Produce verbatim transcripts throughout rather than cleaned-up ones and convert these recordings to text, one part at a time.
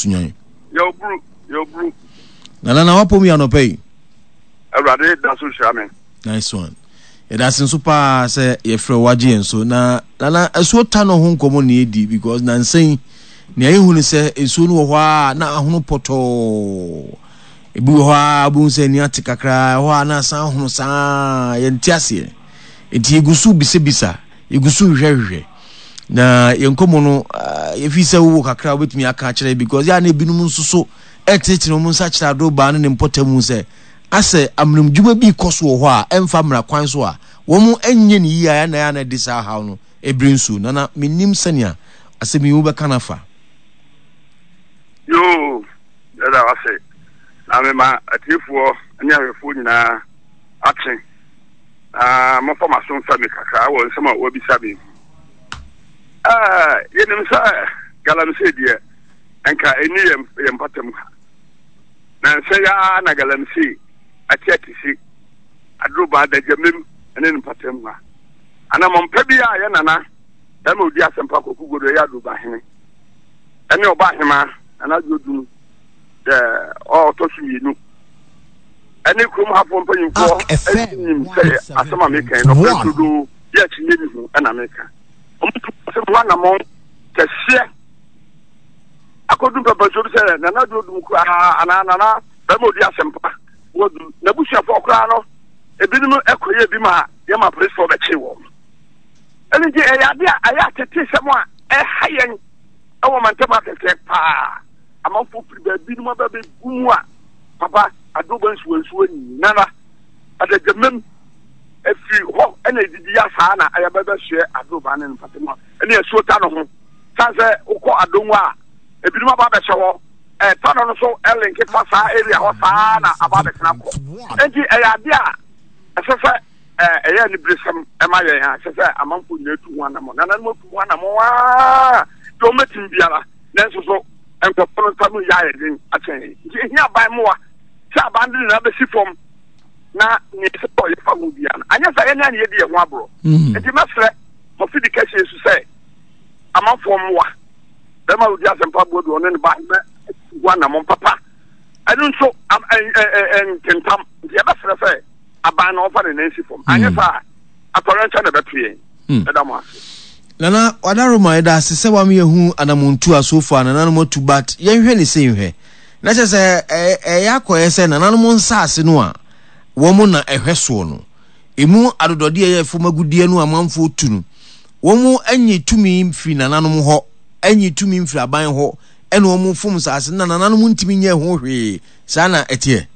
Sunyan. Yɛwoburu, yɛwoburu. Nana, na wapɔ mu yɛ anɔpa yi? Awurade da so hyira me. Nice one. Yɛda ase nso paa sɛ yɛfrɛ wagye yɛn so. Na Nana, asuo ta no ho nkɔmmɔ na yɛdi, because nansa yi nea yɛhu ne sɛ nsuo no wɔ hɔ a na ahono pɔtɔɔ, ebi wɔ hɔ a wobɛhu sɛ ani ate kakra, ɛhɔ a na asan ahono saa. Yɛnte aseɛ, nti yɛgu so bisabisa, yɛgu so hwehwɛhwehwɛ. Na yɛn nkɔmmɔ no, yɛfi sɛ wowɔ kakra a wobɛtumi aka akyerɛ, because yɛ a na ebinom nso so ɛtenetene wɔn nsa kyerɛ Adobaa ne ne mpɔtam sɛ asɛ amenamdwuma bi kɔ so wɔ hɔ a ɛmfa mmara kwan so a wɔn nyɛ ne yie a ɛna ɛna ɛde saa haw no ebere nsuo. Nana, menim sɛnea asɛm yi wobɛka no afa. Yoo, yɛda wase, na mema atiefoɔ ne ahwɛfoɔ nyinaa akye, na mɔfa m'aso mfa mi kakra wɔ nsɛm a wɔabisa me. Ɛɛ yɛnim sɛ galamsey deɛ, nka ɛni yɛn yɛn mpatam ha, na nsɛ yaa na galamsey ate atisi Adoroba adagyamem ne ne mpatam ha. Anammɔmpa bi a yɛ nana bɛrima odi asɛmpa Kɔku Godo, ɛyɛ Adoroba hene, ɛne ɔba ahema Nana Dwodum dɛ ɔtɔ so mmienu, ɛne kurom hafoɔ mpanyinfoɔ ɛnim sɛ asɛm a meka yi nɔpɛ dodo yɛ akyinnye ni ho ɛna meka. Wɔn tu asɛm ho anammɔn kɛseɛ akɔdu mpɛmpɛnsoɔ bi sɛ Nana Dwodum koraa anaa nana bɛrima odi asɛmpa wɔdu n'abusuafoɔ koraa no, ebinom ɛkɔyɛ bi ma yɛma apolisifoɔ bɛkye wɔn. Ɛno nti ɛyɛ ade a ɛyɛ atete sɛm a ɛha yɛn ɛwɔ mantam akɛseɛ paa. Amanfoɔ firi baabi nom aba bɛgu mu a, papa, Adoba nsuwansuwa nyinara adagyamam ɛfiri hɔ ɛna ɛdidi ya saa na ɛyɛ bɛbɛsoɛ Adoba ne mpatamu a ɛne asuo ta no ho. San sɛ wokɔ Adongo a, ebinom aba abɛhyɛ hɔ, ɛta no no so ɛlinke fa saa area hɔ saa na aba abɛtena kɔ. Nti ɛyɛ ade a ɛsɛ sɛ ɛyɛ aniberesɛm ɛma yɛn a ɛsɛ sɛ amanfoɔ nyinaa tu ho anammɔ. Nananom atu ho anammɔ aa deɛ wɔmɛtumi biara, nanso so nkurɔfoɔ no nsa no yɛ ayɛ den akyɛn yɛn. Nti ehia aban mmoa sɛ aban de nyinaa bɛsi fam na nea ɛsɛ sɛ ɔyɛ fa ho biara no, anyɛ sɛ yɛne a ne yɛdi yɛn ho aborɔ. Nti mɛsrɛ mɔfidi kɛseɛ so sɛ amanfoɔ mmoa bɛrima odi asɛmpa Boadu, ɔne ne ba mɛ ho anammɔ papa. Ɛno nso ntentam nti yɛbɛsrɛ sɛ aban na ɔfa ne nan si fam, anyɛ saa atɔrɛnkyɛ na ɛbɛto yɛn. Ɛda mo ase. Nana Wadaroma, yɛda ase sɛ wama yɛhu anamontu a so far nananom atu, but yɛnhwɛ ne sei nhwɛ na kyerɛ sɛ ɛyɛ akɔyɛ sɛ nananom nsaase no a wɔn na ɛhwɛ soɔ no, emu adodɔdeɛ yɛ fam agudeɛ no amanfoɔ tu no, wɔn anyi tumi mfiri nananom hɔ, anyi tumi mfiri aban hɔ, ɛna wɔn fom nsaase na nananom ntumi nyɛ ho hwee. Saa na ɛteɛ?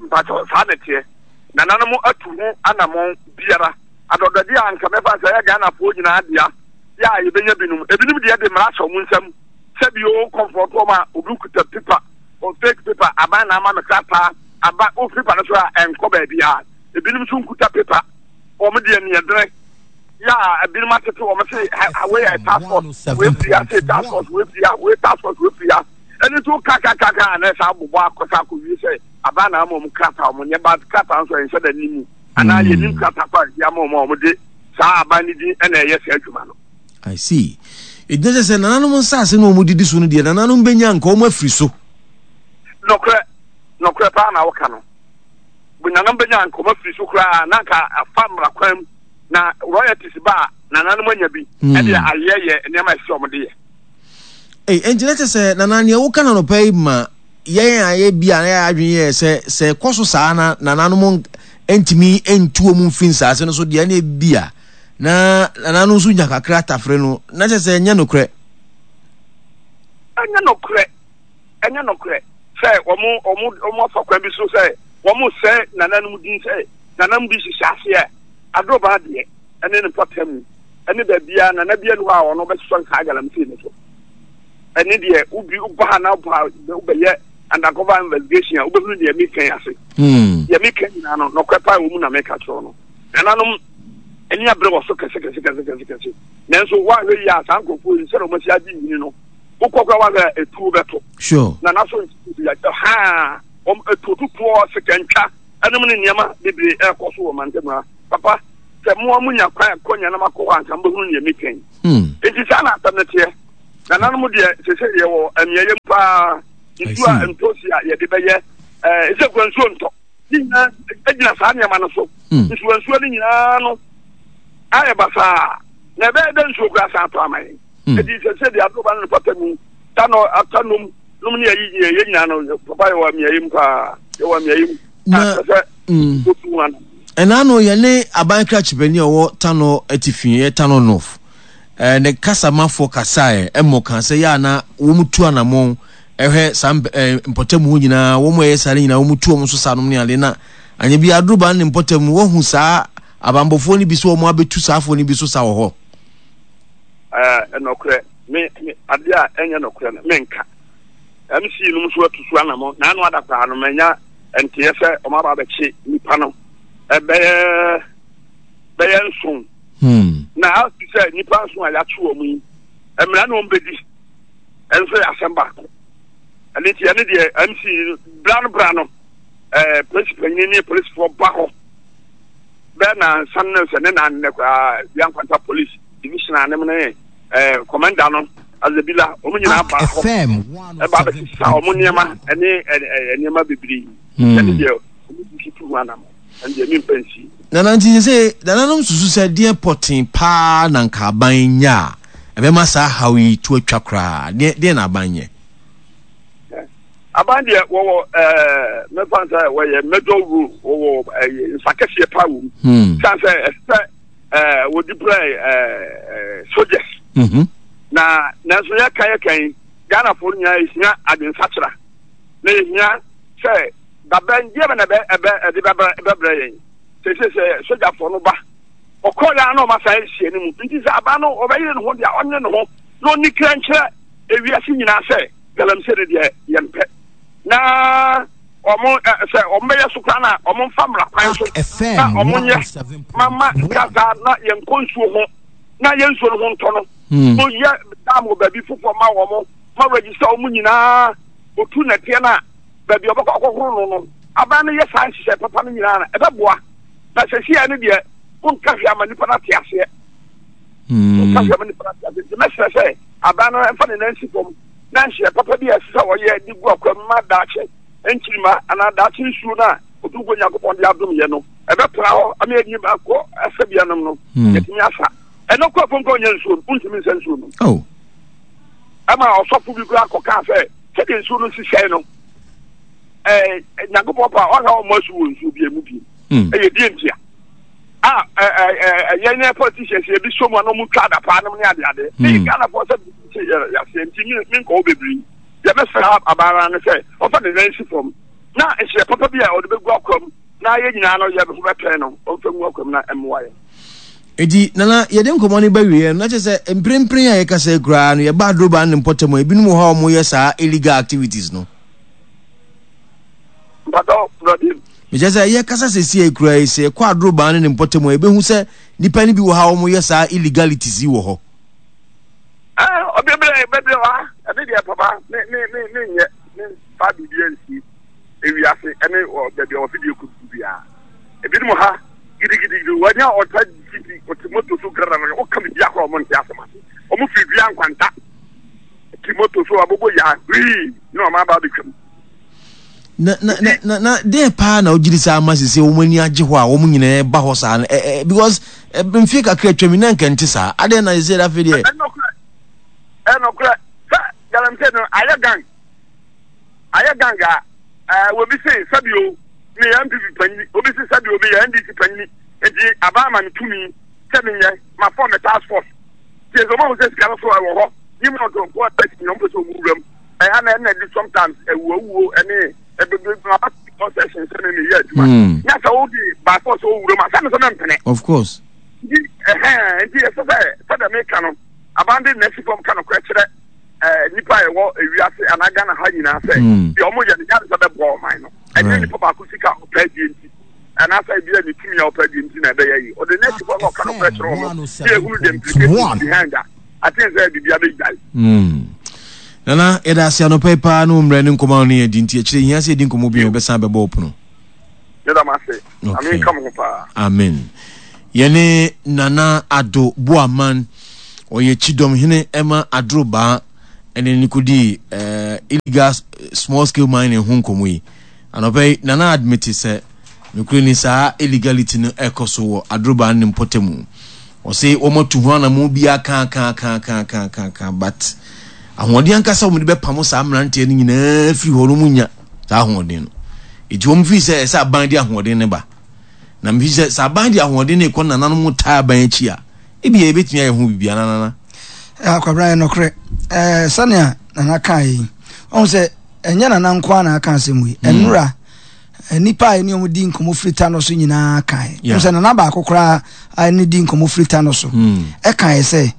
Mpakyɛ, saa na ɛteɛ. Nananom atu ho anammɔn biara. Adɔdɔdeɛ a nka mɛfa sɛ ɛyɛ Ghanafoɔ nyinaa dea yɛ a yɛbɛnya binom, ebinom deɛ de mmara hyɛ wɔn nsam sɛ bi o kɔmfɔto wɔn a obi kuta paper o, fake paper, aban na ama me krataa aba o, paper no so a ɛnkɔ baabiara. Ebinom nso nkuta paper, wɔn deɛ neɛdene yɛ a ebinom atete wɔn se wei yɛ task force, wei firi ha se task force, wei firi ha, wei task force, wei firi ha. Ɛno nso kakakaka a na ɛsɛ abobɔ akɔsa akɔwie sɛ aban na ama wɔn krataa, wɔn nyɛ ba krataa nso ɛnhyɛ da nimu anaa yɛnim krataa pa a ama wɔn a wɔde saa aban no din ɛna ɛyɛ saa adwuma no. I see. Ɛgyina sɛ sɛ nananom nsase no wɔn didi so no deɛ, nananom bɛnya nka wɔn afiri so. Nɔkorɛ, nɔkorɛ paa na wɔka no. Nananom bɛnya nka wɔn afiri so koraa na nka afa mmara kwan mu na royalties ba a, nananom anya bi ɛde ayɛ yɛ nneɛma ɛsɛ wɔn de yɛ. Ei, ɛnti na kyerɛ sɛ nana, nea woka na nɔpɛ yi ma yɛn a yɛ bi a na yɛ adwene yɛ sɛ sɛ ɛkɔ so saa na nananom ntumi ntu wɔn mfiri nsaase no so deɛ, na ebi a na nananom nso nya kakra tafere no, na kyerɛ sɛ ɛnyɛ nokorɛ. Ɛnyɛ nokorɛ, ɛnyɛ nokorɛ sɛ wɔn wɔn wɔn afa kwan bi so sɛ wɔn sɛ nananom din sɛ nananom bi hyehyɛ aseɛ. Adoroba deɛ, ɛne ne mpɔtam mu ɛne baabiara, nana bi anu hɔ a ɔno bɛsosɔ nsaa galamsey no so. Ɛne deɛ wobi woba ha na woba wobɛyɛ undercover investigation a, wobɛhunu deɛ meka yi ase. Deɛ meka nyinaa no, nɔkorɛ paa wɔ mu na meka kyerɛ no. Nananom ani abere wɔ so kɛse kɛse kɛse kɛse kɛse, nanso woahwɛ yi a, saa nkurɔfoɔ yi sɛdeɛ wɔasi agye nyini no, wokɔ kora woahwɛ a, etuo bɛto nana so haa wɔn etuo tutuo, sikantwa ɛnom ne nneɛma bebree ɛrekɔ so wɔ mantam ha. Papa, sɛ mmoa mu nya kwan kɔ nyanam akɔ hɔ anka mbɛhunu nea meka yi. Nti saa na asɛm no teɛ. Nananom deɛ, sese yɛwɔ amiayɛ mu paa. Nsuo a ntosi a yɛde bɛyɛ ɛɛ sɛ kura nsuo ntɔ ne nyinaa gyina saa nneɛma no so. Nsuo nsuo no nyinaa no ayɛ basaa na ɛbɛyɛ dɛ nsuo kura san atɔ ama yɛn. Eti sɛ sɛ deɛ adoroba no ne pata mu ta no ata nom nom ne ayi yɛ yɛ nyinaa no, papa, yɛwɔ amiayɛ mu paa, yɛwɔ amiayɛ mu. Na sɛ otu ho ano. Ɛna no yɛne aban krakyebani a ɔwɔ Tano Atifi, ɛyɛ Tano North, ɛɛ ne kasamafoɔ kasaeɛ ɛmɔ kan sɛ yɛ a na wɔn tu anammɔn ɛhwɛ saa ɛɛ mpɔtam hɔ nyinaa, wɔn a ɛyɛ saa no nyinaa wɔn tu wɔn so saa nom ne ade. Na anya bi adoroba ne mpɔtam no, wɔhu saa abanbɔfoɔ no bi sɛ wɔn abɛtu saa afoɔ no bi so sa wɔ hɔ. Ɛɛ ɛnɔkorɛ, me me adeɛ a ɛnyɛ nɔkorɛ no menka. M C nom nso atu so anammɔn na ano ada koraa no, manya nteɛ sɛ wɔn aba abɛkye nipa no ɛbɛyɛ bɛyɛ nson. Hmm. Na ase sɛ nipa nson a yɛakye wɔn yi, mmara na wɔn bɛdi ɛnso yɛ asɛm baako. Ɛne nti ɛne deɛ M C bra no bra no ɛɛ polisi panyin ne polisifoɔ ba hɔ bɛɛ na nsan ne sɛ ne nan ne koraa bia Nkwanta Police Division anem ne ɛɛ commander no Azebila, wɔn nyinaa ba hɔ ɛba abɛsesa wɔn nneɛma ɛne ɛɛ nneɛma bebree. Ɛne deɛ wɔn tutu ho anam, ɛne deɛ mi mpa nsi. Nana, nti sɛ nananom susu sɛ deɛ pɔten paa na nka aban nya a ɛbɛma saa haw yi to atwa koraa, deɛ deɛ na aban nyɛ? Aban deɛ, wɔwɔ ɛɛ mɛfa sɛ wɔyɛ major role, wɔwɔ ɛyɛ nsa kɛseɛ paa wɔ mu. San sɛ ɛsɛ ɛɛ wɔdi brɛ ɛɛ soldiers. Na nanso yɛka yɛka yi, Ghanafoɔ nyinaa yɛhia adwensakyera na yɛhia sɛ dabɛn deɛ bɛ na ɛbɛ ɛbɛ ɛde bɛbrɛ bɛbrɛ yɛn. Sese sɛ sogyafoɔ no ba ɔkɔ ya na ɔma san ahyia no mu, nti sɛ aban no ɔbɛyere ne ho deɛ, ɔnyere ne ho na ɔni kra nkyerɛ ewiase nyinaa sɛ galamsey no deɛ yɛmpɛ, na ɔmo ɛ sɛ ɔmo bɛyɛ so koraa na ɔmo nfa mmara kwan so na ɔmo nyɛ mama kasa na yɛnkɔ nsuo ho na yɛn nsuo no ho ntɔ no. Mo yɛ dam wɔ baabi foforɔ ma wɔn, ma register wɔn nyinaa, otu nɛteɛ no a baabi a ɔbɛkɔ akɔhoro no no aban no yɛ saa nhyehyɛ papa no nyinaa na ɛbɛboa. Na sɛsi no deɛ, wonka hwee ama nipa no ate aseɛ, wonka hwee ama nipa no ate aseɛ. Nti mɛsrɛ sɛ aban no mfa ne nan si fam na nhyehyɛ papa bi a ɛsɛ sɛ ɔyɛ de gu akwa mu ma daakye nkyirima anaa daakye nsuo no a Otumfoɔ Nyankopɔn de adom yɛ no ɛbɛtena hɔ ama yɛde akɔ asɛbea nom no, yɛtumi asa ɛno kɔ afom kɔ ɔnyɛ nsuo no, wontumi nsa nsuo no. Oh. Ɛma ɔsɔfo bi koraa kɔkaa sɛ sɛdeɛ nsuo no sisɛe no, ɛɛ Nyankopɔn pa ɔhwɛ ɔmmɔ asu wɔ nsuo bi mu bi. Ɛyɛ die ntia a ɛyɛ ne politicians ebi so mu a na ɔmo twa adapaa nom ne adeade ne Ghanafoɔ sɛ yɛaseɛ. Nti menkɔ hɔ bebree. Deɛ mɛsrɛ abaaraa no sɛ ɔfa ne nan si fam na nhyɛ papa bi a ɔde bɛgu akwa mu na yɛn nyinaa no yɛ ho bɛtɛn no, ɔmfa ngu akwa mu na ɛmmoa yɛn. Enti Nana, yɛde nkɔmmɔ no ba wieɛ no, na kyerɛ sɛ mprempren a yɛkasa yi koraa no, yɛba Adroba ne mpɔtam a, ebinom wɔ hɔ a wɔyɛ saa illegal activities no. Mpatɔ, brɔde. Mekyerɛ sɛ yɛkasa seesei yi koraa yi, sɛ yɛkɔ Adroba ne ne mpɔtam a, yɛbɛhu sɛ nnipa no bi wɔ ha a wɔyɛ saa illegalities yi wɔ hɔ. Ɔbebree bebree wɔ ha. Ɛne deɛ, papa, me me me me nyɛ me fa biribi ansi ewiase ɛne baabi a wɔfidie kɔ biara. Ebinom ha gidigidigidi, wɔnyɛ ɔta gidi, ɔte moto so grada no, woka biribi akora ɔmo nte asɛm ase. Ɔmo firi dua Nkwanta ti moto so abobo ya hwii na ɔmo aba abɛtwam. Na na na na na deɛ paa na ogyiri saa ama sese wɔn ani agye hɔ a wɔn nyinaa ba hɔ saa no, ɛ ɛ because ɛ mfie kakra atwam yi na nka nte saa, adeɛ na sese afei deɛ. Ɛnɔkorɛ, ɛnɔkorɛ sɛ galamsey no ayɛ gang, ayɛ gang a ɛɛ obi se sɛbi o meyɛ N P P panyini, obi se sɛbi o meyɛ N D C panyini, nti aban ama me tumi sɛ menyɛ ma form a task force. Tie sɛ ɔmo ahu sɛ sika no so ɛwɔ hɔ yi mu ɔtɔ nko a ɛsi nyɛ ɔmo pɛ sɛ ɔmo wura mu. Ɛha na ɛna di sometimes ɛwuawuo ɛne ɛbɛbɛ aba concession sɛ me meyɛ adwuma nya sɛ wode by force ɔwura mu a sɛ me sɛ mɛmpene. Of course. Nti ɛhɛn nti ɛsɛ sɛ sɛdeɛ meka no, aban de n'asi fam ka nokorɛ kyerɛ ɛɛ nipa a ɛwɔ ewiase anaa Ghana ha nyinaa sɛ deɛ ɔmo yɛ no nyɛ sɛ bɛboa ɔman no. Ɛnyɛ nipa baako sika a ɔpɛ adie nti anaasɛ ebi a ne tumi a ɔpɛ adie nti na ɛbɛyɛ yi. Ɔde n'asi fam na ɔka nokorɛ kyerɛ ɔmo ne ehunu the implications behind a aten sɛ biribi abɛgyae. Nana, yɛda ase anɔpa yi paa ne wo mmerɛ ne nkɔmmɔ a wo ne yɛn di. Nti akyire hia sɛ yɛdi nkɔmmɔ bio, yɛbɛsan bɛbɔ wo pono. Meda mo ase. Ame nka mo ho paa. Amen. Yɛne Nana Addo Boaman, ɔyɛ Kyidɔmhene ɛma Adrobaa. Ɛne ne kɔdii eh, illegal small scale mining ho nkɔmmɔ yi. Anɔpa yi, Nana admit sɛ nokorɛ ni saa illegality no ɛkɔ so wɔ Adurobaa ne mpɔtamu. Ɔse wɔn atu ho anamɔ biara kaakaakaakaakaaka, but ahoɔden ankasa wɔn de bɛpamo saa mmeranteɛ no nyinaa firi hɔ no, wɔn nya saa ahoɔden no. Eti wɔn firi sɛ ɛsɛ aban de ahoɔden no ba. Na mefi sɛ sɛ aban de ahoɔden no kɔ nananom taa aban akyi a, ebi yɛ ebetumi ayɛ ho biribi ananana. Akwabra, yɛ nokorɛ ɛɛ sɛnea Nana kaa yi, ɔhu sɛ ɛnyɛ Nana nko ara na aka asɛm yi. Ɛnura nipa a ɛne ɔmo di nkɔmɔ firi ta no so nyinaa kae Yeah. sɛ Nana baako koraa a ɛne di nkɔmɔ firi ta no so ɛkae sɛ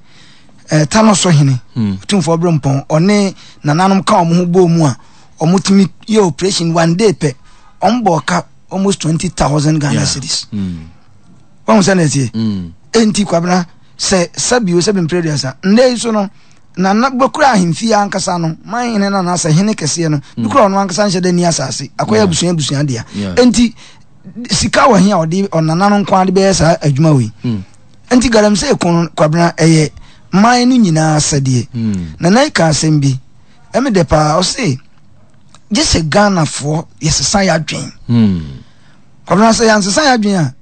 ɛɛ ta no so hene Tumfoɔ Berempɔn ɔne nananom ka ɔmo ho bɔɔ mu a ɔmo tumi yɛ operation one day pɛ, ɔmo bɔ ɔka almost twenty thousand Ghana Yeah. cedis. Wɔn sɛ na ɛteɛ. Enti Kwabena, sɛ sɛbio sɛbi mpere aduasa nnɛ yi so no, nana bɛkura ahemfie ankasa no, man hene no anaasɛ hene kɛseɛ no bi kura, ɔno ankasa nhyɛ dɛ ni asase akɔyɛ abusua abusua dea. Yeah. Enti sika wɔ he a ɔde ɔnana no nko ade bɛyɛ saa adwuma wei? Enti galamsey ko no, Kwabena, ɛyɛ man no nyinaa sɛdeɛ Nana yi ka asɛm bi ɛmi dɛ paa. Ɔse gye sɛ Ghanafoɔ yɛsesa yɛ adwen. Kwabena, sɛ yɛnsesa yɛ adwen a,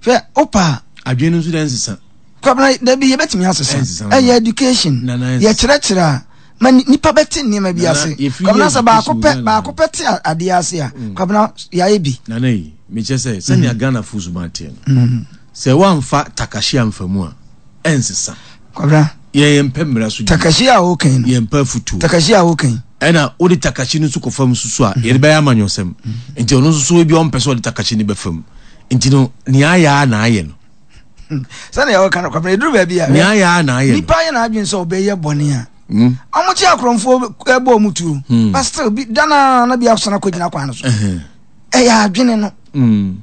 hwɛ wopa a Adwene no nso dɛ nsesa. Kwabena, dabi, yɛbɛtumi asesa. Ɛnsesa. Ɛyɛ education. Nana, ɛnsesa. Yɛkyerɛkyerɛ a ma ni- nipa bɛte nneɛma bi Nana, ase. yɛfiri Kwabena, yɛ sɛ baako education pɛ Ghana. Baako pɛ te a- adeɛ ase a, Kwabena, yɛayɛ bi. Nana yi, mekyɛ sɛ sɛnea Ghana fo suban teɛ no, sɛ woamfa takashi amfa mu a, ɛnsesa. Kwabena, yɛn yɛmpɛ mmara so di. Takashi a wokan no, Yɛmpɛ afutuo. Takashi a wokan. Ɛna wode takashi no nso kɔ fam nso so a, yɛde bɛyɛ amanyɔsɛm. Nti ɔno nso so ebi a ɔmpɛ sɛ ɔde takashi no bɛfam, nti no nea ayɛ a na ayɛ no. Sɛnea wɔka no, Kwabena, ɛduru baabi a Nea ayɛ a na ayɛ no. Nipa yɛ n'adwene sɛ ɔbɛyɛ bɔne a, Mm. ɔmo kye akorɔmfoɔ ɛbɔ ɔmo tuo, but still bi dana na bi asana kɔgyina kwan no so. Ɛhɛn. Ɛyɛ adwene no. Mm.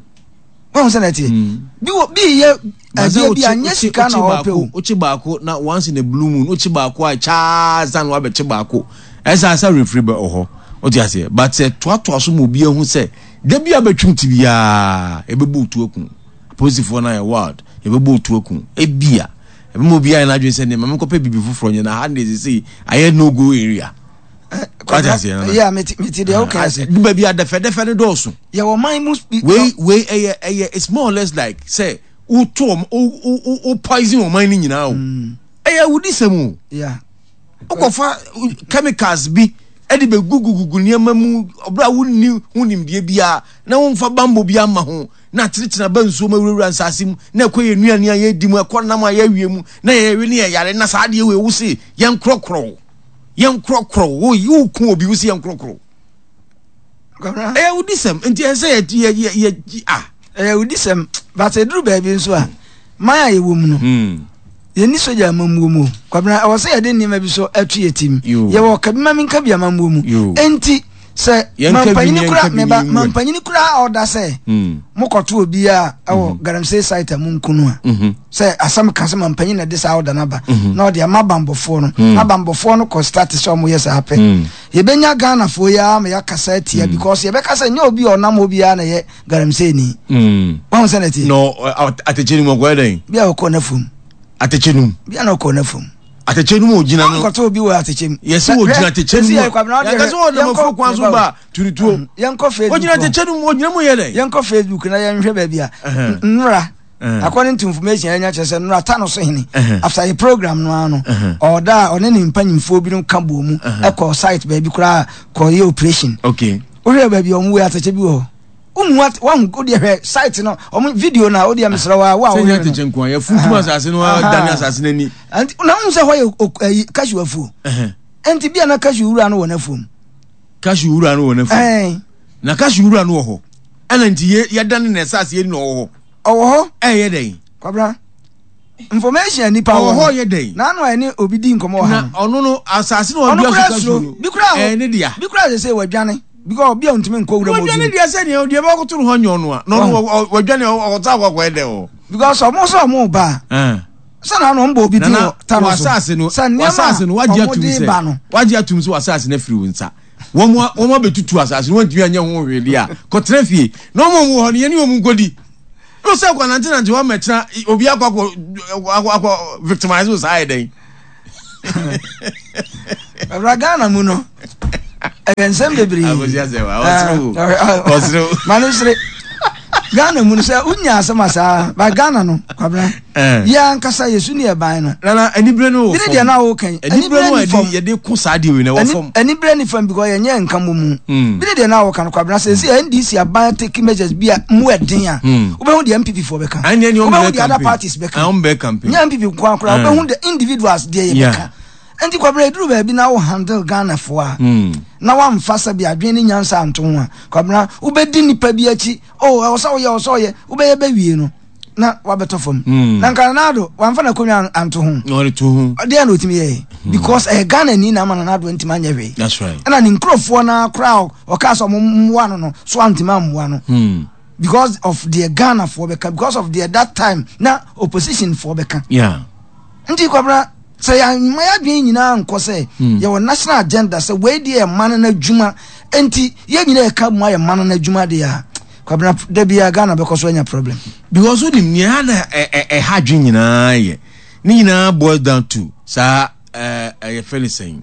Wɔn sɛ na ɛteɛ bi wɔ bi yɛ adeɛ bi a nyɛ sika na ɔpɛ o. Wokye baako na once in a blue moon wokye baako a kyaa san wabɛkye baako, ɛsɛ asa refiri bɛ wɔ hɔ, wote aseɛ? But sɛ toatoa so ma obi ahu sɛ da bi a bɛtwam ti biara yɛbɛbɔ otu aku apolisifoɔ no ayɛ wild, yɛbɛbɔ otu aku, ebia ɛbɛma obi ayɛ n'adwene sɛ nneɛma menkɔpɛ biribi foforɔ nyɛ na ha ne sɛ ayɛ no go area. Wate aseɛ, Nana? Yɛ mete mete deɛ woka ase. Du baabi a dɛfɛdɛfɛ no dɔɔso. Yɛwɔ man mu bi. Wei wei ɛyɛ ɛyɛ it's more or less like sɛ woto ɔm wo wo wo poison ɔman no nyinaa o. Ɛyɛ awudisɛm o. Yeah. Wokɔfa chemicals bi ɛde bɛ gugugugu nneɛma mu ɔbɛrɛ a wonni ho nimdeɛ biara na womfa bambɔ bi ama ho na atenetene aba nsuo mu, awurawura nsaase mu na ɛkɔ yɛ nnuane a yɛdi mu, ɛkɔ nam a yɛawie mu na yɛwe ne yɛyare. Na saa adeɛ wei wo se yɛnkorɔkorɔ wo, yɛnkorɔkorɔ wo, woku obi, wo se yɛnkorɔkorɔ wo. Kwabena, ɛyɛ awudisɛm, nti ɛsɛ sɛ yɛ yɛ yɛ yɛ ah. Ɛyɛ awudisɛm, but ɛduru baabi nso a, man a yɛwɔ mu no, yɛni sogya amammuo mu o. Kwabena, ɛwɔ sɛ yɛde nneɛma bi so ɛto yɛ tim. Yo. Yɛwɔ kabima mi nka bi amammuo mu. Yo. Enti sɛ Yɛnka bi mampanyini ni, kora yɛnka bi meba ni, mampanyini kora a ɔda sɛ Mm. mokɔto obi a ɛwɔ galamsey site a monku no a, Mhm. sɛ asɛm ka sɛ mampanyin na de saa ɔda no aba na ɔde ama bambɔfoɔ no, na bambɔfoɔ no kɔ start sɛ ɔmoyɛ saa pɛ, yɛbɛnya Ghanafoɔ yi ara ma yɛakasa atia, because yɛbɛka sɛ nyɛ obi a ɔnam hɔ biara na ɛyɛ galamsey ni. Mm. Wahu sɛ na ɛteɛ. No, atɛkyɛ no mu ɔkɔyɛ dɛn? Bi a ɔkɔ n'afum. Atɛkyɛ no mu. Bi a na ɔkɔ n'afum. Atɛkyɛ no mu ogyina no. Ɔnkɔtɔ obi wɔ atɛkyɛ mu. Yɛsɛ ogyina atɛkyɛ no mu a, yɛka sɛ ɔnam afuo kwan so ba turutuo. Yɛnkɔ Facebook. Ogyina atɛkyɛ no mu, ogyina mu yɛ dɛn? Yɛnkɔ Facebook na yɛnhwɛ baabi a nnora, according to information yɛnya, kyerɛ sɛ nnora ta no so hene, after yɛ program no ano, ɔda a ɔne ne mpanyimfoɔ binom ka bɔ mu ɛkɔ site baabi koraa kɔyɛ operation. Okay wohwɛ baabi a ɔmo wɔ atɛkyɛ bi wɔ hɔ, wohu wahu, wodeɛ hwɛ site no, ɔmo video no a, wodeɛ mesrɛ wa wo a sɛ nyɛ wohwɛ no. Atɛkyɛ nko a yɛfuntum asase no, dane asase no ani. Nti na wohu sɛ hɔ yɛ ok- ɛyi, cashew afuo. Nti bia na cashew wura no wɔ n'afuom. Cashew wura no wɔ n'afuom. Ɛn. Na cashew wura no wɔ hɔ ɛna nti yɛ yɛdane na asase yɛ ni na ɔwɔ hɔ. Ɔwɔ hɔ. Ɛyɛ dɛn? Kwabra, information a nipa ɔwɔ wɔ hɔ no yɛ dɛn? N'ano a ɛne obi di nkɔmɔ wɔ ha na no, ɔno no asase no ɔno ɔdua kura so cashew suro no bi kura ɛyɛ ne dea. Bi kura sɛ sɛ wadwane because obi a ntumi nkɔ wura mu wɔdwane obi deɛ sɛ nea deɛ bɛkɔto no hɔ nyɛ ɔno a na ɔno wɔ- wɔdwane ɔkɔta akɔkɔɛ dɛ wɔ because ɔmo sɛ ɔmo ba a, sɛ na ano ɔmo bɔ obi din Nana wɔ ta no so wasase no sɛ nneɛma wasase no a wagye ɔmo atum de sɛ ba no. Wagye atum sɛ wasase no afiri wo nsa, wɔn a- wɔn abɛtutu asase no, wɔntumi anyɛ ho hwee deɛ a, kɔtena fie na wɔn a wɔn wɔ hɔ no yɛne wɔn nkɔdi no sɛ kɔ nante nante hɔ mɛkyena obi akɔ akɔ akɔ akɔ victimize wo saa yɛ dɛn? Ɔbra Ghana mu no ɛyɛ nsɛm bebree. Ma no sere Ghana mu no sɛ wonya asɛm a saa ba Ghana no kwabena yɛ ankasa yɛsu ne yɛban no. Nana anibere no wɔ fam. Bere deɛ na woka yi anibere no a yɛde ko saa deɛ wei na ɛwɔ fam. Anibere ne fam because yɛnyɛ nka mmɔ mu. Bere deɛ na woka no kwabena sɛ sɛ N D C aban take measures bi a mu ɛden a, wobɛhu deɛ N P P foɔ bɛka, wobɛhu deɛ other parties bɛka, nyɛ N P P nko akora, wobɛhu the individuals deɛ yɛbɛka. Nti kwabena, eduru baabi na wo handle Ghana foɔ a na wamfa sɛ bi adwene ne nyansa anto ho a, kwabena, wobɛdi nipa bi akyi o, ɛwɔ sɛ woyɛ, ɛwɔ sɛ ɔyɛ, wobɛyɛ bɛwie no na wabɛtɔ fam. Na nka Nana Addo wamfa n'akonnwa anto ho deɛ na ɔtumi yɛɛ because ɛyɛ Ghana ni na ama Nana Addo ntumi anyɛ hwee. Ɛna ne nkurɔfoɔ no koraa ɔkaa sɛ ɔmo mmoa no no so antumi ammoa no because of deɛ Ghana foɔ bɛka, because of deɛ that time na opposition foɔ bɛka. Nti kwabena, sɛ yɛama yɛadwene nyinaa nkɔ sɛ yɛwɔ national agenda sɛ wei deɛ yɛ ma no n'adwuma, nti yɛn nyinaa yɛka mu ayɛ ma no n'adwuma deɛ a, kwabena, da bia Ghana bɛkɔ so anya problem. Because wonim nea na ɛha adwene nyinaa yɛ ne nyinaa boils down to saa ɛyɛ fɛ ne sɛn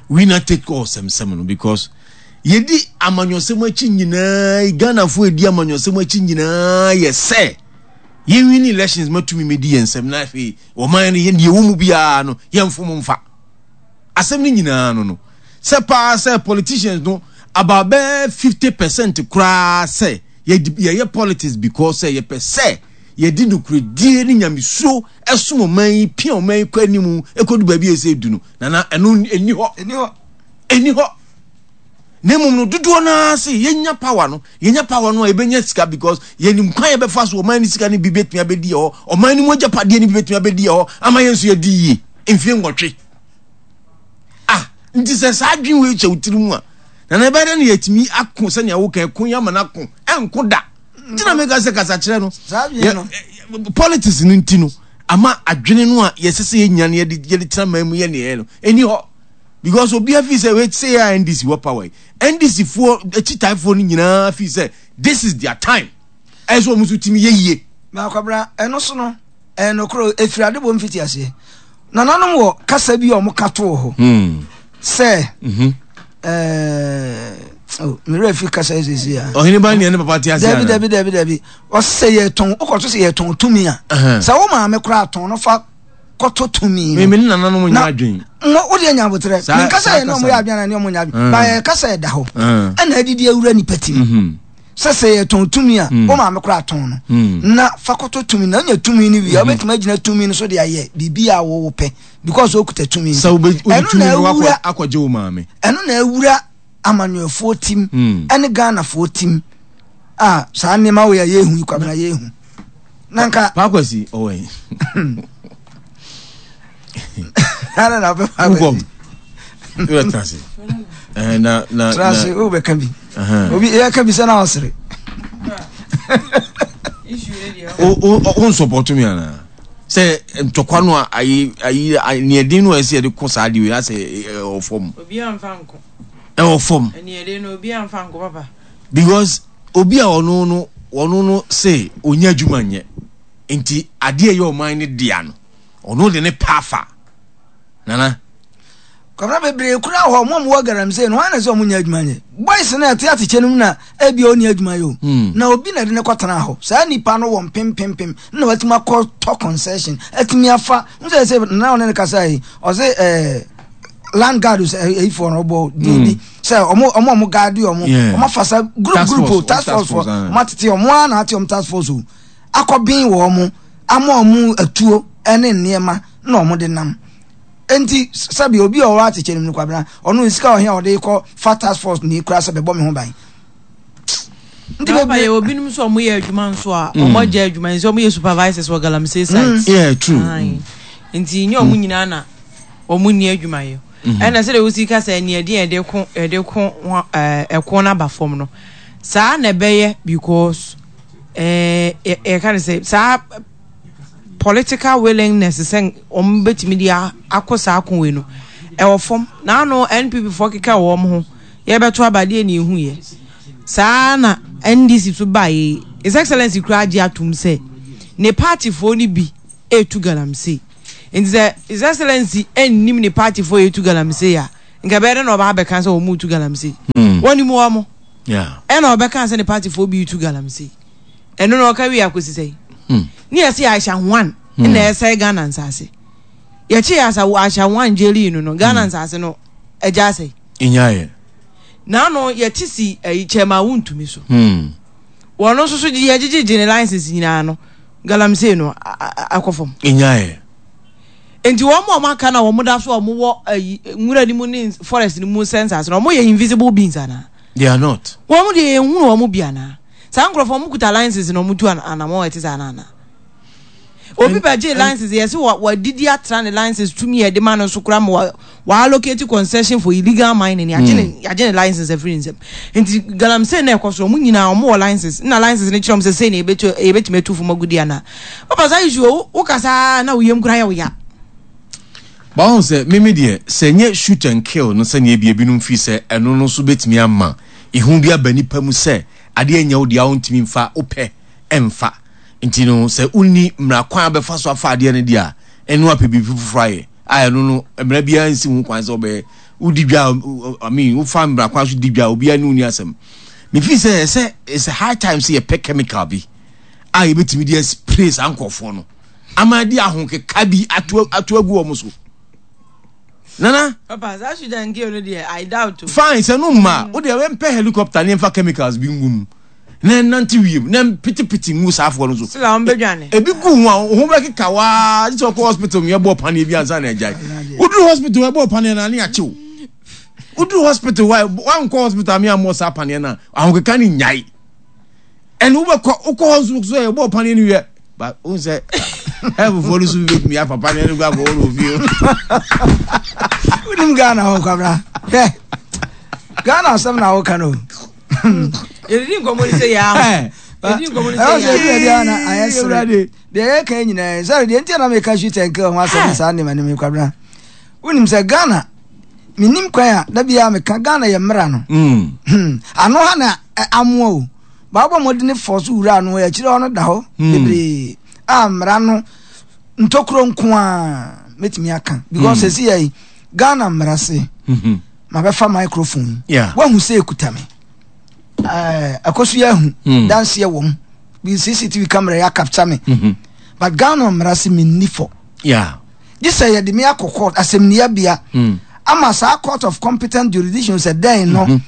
winner take all sɛmsɛm no, because yɛdi amanyɔsɛm akyi nyinaa, Ghanafoɔ yɛdi amanyɔsɛm akyi nyinaa yɛ sɛ yɛnwin elections matumi mɛdi yɛn nsɛm na afei ɔman no yɛn deɛ ɛwɔ mu biara no yɛmfom mfa asɛm no nyinaa no no sɛ paa sɛ politicians no about bɛɛ fifty percent koraa sɛ yɛyɛ politics because sɛ yɛpɛ sɛ yɛde nokoredie ne nyamesuro ɛsom ɔman yi, pia ɔman yi kɔ anim ɛkɔdu baabi a ɛsɛ du no. Nana, ɛno ɛni hɔ, ɛni hɔ. Na mmom no dodoɔ no ara se yɛnya power no, yɛnya power no a yɛbɛnya sika because yɛnim kwan yɛbɛfa so ɔman no sika no bi bɛtumi abɛdi yɛ hɔ, ɔman no mu agyapadeɛ no bi bɛtumi abɛdi yɛ hɔ ama yɛn nso yɛdi yie mfie nwɔtwe. Ah, nti sɛ saa adwene wei kyɛ wo tiri mu a, nana, ɛbɛyɛ dɛ no yɛtumi ako sɛnea woka ɛko yi ama no ako ɛnko da. Nti na meka sɛ kasakyerɛ no politics no nti no ama adwene no a yɛsɛ sɛ yɛnya no yɛde yɛde tena man mu yɛ neɛ no ɛni hɔ because obiara fi sɛ wei sɛ yɛ a N D C wɔ power yi, N D C foɔ akyitaafoɔ no nyinaa fi sɛ this is their time, ɛyɛ sɛ wɔn nso tumi yɛ yie. Maakwabra, ɛno so no ɛyɛ nokorɛ, ɛfiri adebɔ mfiti aseɛ nananom wɔ kasa bi a ɔmo ka too hɔ hmm. sɛ mhm. ɛɛ mmerɛ fi kasa yi sisi a. Ɔhene ba nea ne papa te ase ana? Dabi, dabi, dabi, dabi. Ɔsɛ yɛ tɔn wokɔto sɛ yɛ tɔn tumi a, sɛ wo maame koraa tɔn no fa kɔtɔ tumi no. Mímí ne nananom nyɛ adwene. Mo o deɛ nya abotrɛ mi nkasa yɛ ne ɔmo yɛ adwene na ne ɔmo nyɛ adwene ba yɛ kasa yɛ da hɔ ɛna adidi awura nipa ti mu mhm. sɛ sɛ yɛ tɔn tumi a, mm. wo maame koraa tɔn no mm. na fa kɔtɔ tumi na ɔnya tumi no wie a, mm-hmm. wobɛtumi agyina tumi no so de ayɛ biribi a wɔwɔ pɛ because okuta tumi. Sɛ wobɛ tumi no akɔgye wo maame. Ɛno na awura amanyɔfoɔ tim ɛne Ghanafoɔ tim a saa nneɛma wei a yɛhu yi, kwabena, yɛhu na nka. Paakwasi ɔwɔ yi. Ana na ɔpɛ Paakwasi. Yóò tena ase. Na na tena ase o, bɛka bi obi yɛ ka bi sɛ na ɔsere. O o o nsɔpɔtɔ mi ana sɛ ntɔkwa no a ayi ayi neɛden no a ɛsɛ yɛde kɔ saa de wei asɛ ɛwɔ fam. Obi anfa nko. Ɛwɔ fam. Neɛden no obi anfa nko papa. Because obi a ɔno no ɔno no se onya adwuma nyɛ nti adeɛ ɛyɛ ɔman no dea no ɔno de ne paafa nana. Kwabena, bebree kura hɔ ɔmo a ɔmo wɔ galamsey no, wɔn na sɛ ɔmo nya adwuma nyɛ. Boys na ɛte atekyɛ no mu na ebi a ɔni adwuma yɛ o hmm. na obi na ɛde ne kɔtena hɔ. Saa nipa no wɔ mpempempem na watumi akɔ tɔ concession atumi afa n sɛ sɛ nana ɔne ne kasa yi ɔsɛ ɛɛ land guard sɛ ɛyifoɔ no ɔbɔ din bi hmm. sɛ ɔmo ɔmo ɔmo guard ɔmo ɔmo afa sa group group o, task force foɔ, ɔmo atete ɔmo a na ate ɔmo task force o akɔben wɔ ɔmo ama ɔmo atuo ɛne nneɛma na ɔmo de nam. Nti sɛbi obi a ɔwɔ atekyɛ no mu no, kwabena, ɔno sika ɔhɛn a ɔde kɔ fa task force ni kura sɛ bɛbɔ me ho ban. Nti bebree yɛ obinom nso a wɔyɛ adwuma nso a wɔn agya adwuma nso wɔyɛ supervisors wɔ galamsey site. Yeah, true. Nti nye wɔn nyinaa na wɔn nni adwuma yɛ. Ɛna sɛdeɛ wosi ka sɛ nea ɛde yɛde ko yɛde ko ɛɛ ɛko n'aba fam no saa na ɛbɛyɛ because ɛɛ yɛka ne sɛ saa political willingness sɛ wɔn bɛtumi de akɔ saa ko wei no ɛwɔ fam. N'ano N P P foɔ keka wɔn ho yɛbɛto abadeɛ na ehu yɛ saa na N D C so baa yɛ. His Excellency kura agye atum sɛ ne party foɔ no bi etu galamsey. Nti sɛ His Excellency nnim ne party foɔ yɛtu galamsey a, nka ɛbɛyɛ dɛ na ɔba abɛka sɛ wɔn tu galamsey. Wɔnim wɔn. Ɛna ɔbɛka sɛ ne party foɔ bi tu galamsey. Ɛno na ɔka wie akɔsi sɛ. Ne yɛsɛ Aisha Huang na ɛsɛe Ghana nsase. Yɛkye yɛ asa Aisha Huang gyeli no no Ghana nsase no agya asɛe. Nyaayɛ. N'ano yɛte si ɛyi kyɛma wontumi so. Wɔn nso so yɛgyegyegye ne license nyinaa no galamsey no akɔ fam. Nyaayɛ. Nti wɔn a wɔn aka na wɔn da so a wɔn wɔ ɛyi nwura ni mu ne forest ni mu sɛ nsase no wɔn yɛ invisible beings ana. They are not. Wɔn deɛ yɛn hunu wɔn bi ana. Saa nkurɔfoɔ wɔn kuta license na wɔn tu anamɔ ɛte saa nana. Obi bɛ gye license yɛsi wɔ wɔdidi atra ne license tumi yɛ de ma no so kora ma wɔ wɔ allocate concession for illegal mining yagye ne yagye ne license afiri nsam. Nti galamsey na ɛkɔ so wɔn nyinaa wɔn wɔ license na license ne kyerɛ wɔn sɛ sɛ na ebetu ebetumi atu fam agudi ana. Papa saa issue wo wo kasa na wo yam kura yɛ wo ya. Báwo sɛ mímí deɛ sɛ nye shoot and kill no sɛnea ebi ebinom fi sɛ ɛno no nso betumi ama ihu bi aba nipa mu sɛ adeɛ nyɛ wo deɛ a wontumi nfa wopɛ ɛnfa nti no sɛ wonni mmara kwan a bɛfa so afa adeɛ no deɛ a ɛno apɛ biribi foforɔ ayɛ a ɛno no mmara biara nsi ho kwan sɛ ɔbɛyɛ wodi dwa a I mean wofa mmara kwan so di dwa a obiara ne wo ni asɛm. Mefi sɛ ɛsɛ it's a high time sɛ yɛpɛ chemical bi a yɛbɛtumi de spray saa nkurɔfoɔ no ama de ahokeka bi ato ato agu wɔn so. Nana. Papa saa shoot and kill no deɛ I doubt o. Fine sɛ no mma wo deɛ wɛmpɛ helicopter ne mfa chemicals bi ngu mu na nante wiem na pitipiti ngu saa afoɔ no so. Sila wɔn bɛdwane. Ebi gu ho a ho bɛkeka waa sɛ ɔkɔ hospital mu yɛbɔ paneɛ bi ansa na agyae. Woduru hospital yɛbɔ paneɛ na ne akyew. Woduru hospital wa wankɔ hospital mi ammɔ saa paneɛ na ahokeka ne nyae. Ɛna wobɛkɔ wokɔ hɔ nso so yɛbɔ paneɛ no wie. Ba wo sɛ ɛfofoɔ no so bi bɛtumi afa paneɛ no gu akɔ wɔ ofie. Wonim Ghana hɔ kwabra. Hwɛ. Ghana asɛm na woka no. Yɛdidi nkɔmmɔ ni sɛ yɛ aho. Yɛdidi nkɔmmɔ ni sɛ Ɛwɔ sɛ yɛ ebi aho. ebi a na ayɛ sere. Deɛ yɛka yi nyinaa sɛ deɛ nti na meka shoot and kill ho asɛm saa nneɛma no mi kwabra. Wonim sɛ Ghana menim kwan a da biara meka Ghana yɛ mmara no. Mm. Hmm. Ano ha na ɛ, amoa o. Baabɔ mmɔden fɔ so wura ano akyire hɔ no da hɔ bebree a mmara no ntokuro nko a mɛtumi aka because ɛsi yɛ yi Ghana mmara se Mhm. mabɛfa microphone yi Yeah. wahu sɛ ekuta me ɛɛ ɛkɔ so yɛ ahu Mm. danseɛ wɔ mu bi C C T V camera yɛ capture me Mhm. but Ghana mmara se menni fɔ Yeah. gye sɛ yɛde me akɔ court asɛmniabea Mm. ama saa court of competent jurisdiction sɛ dɛn no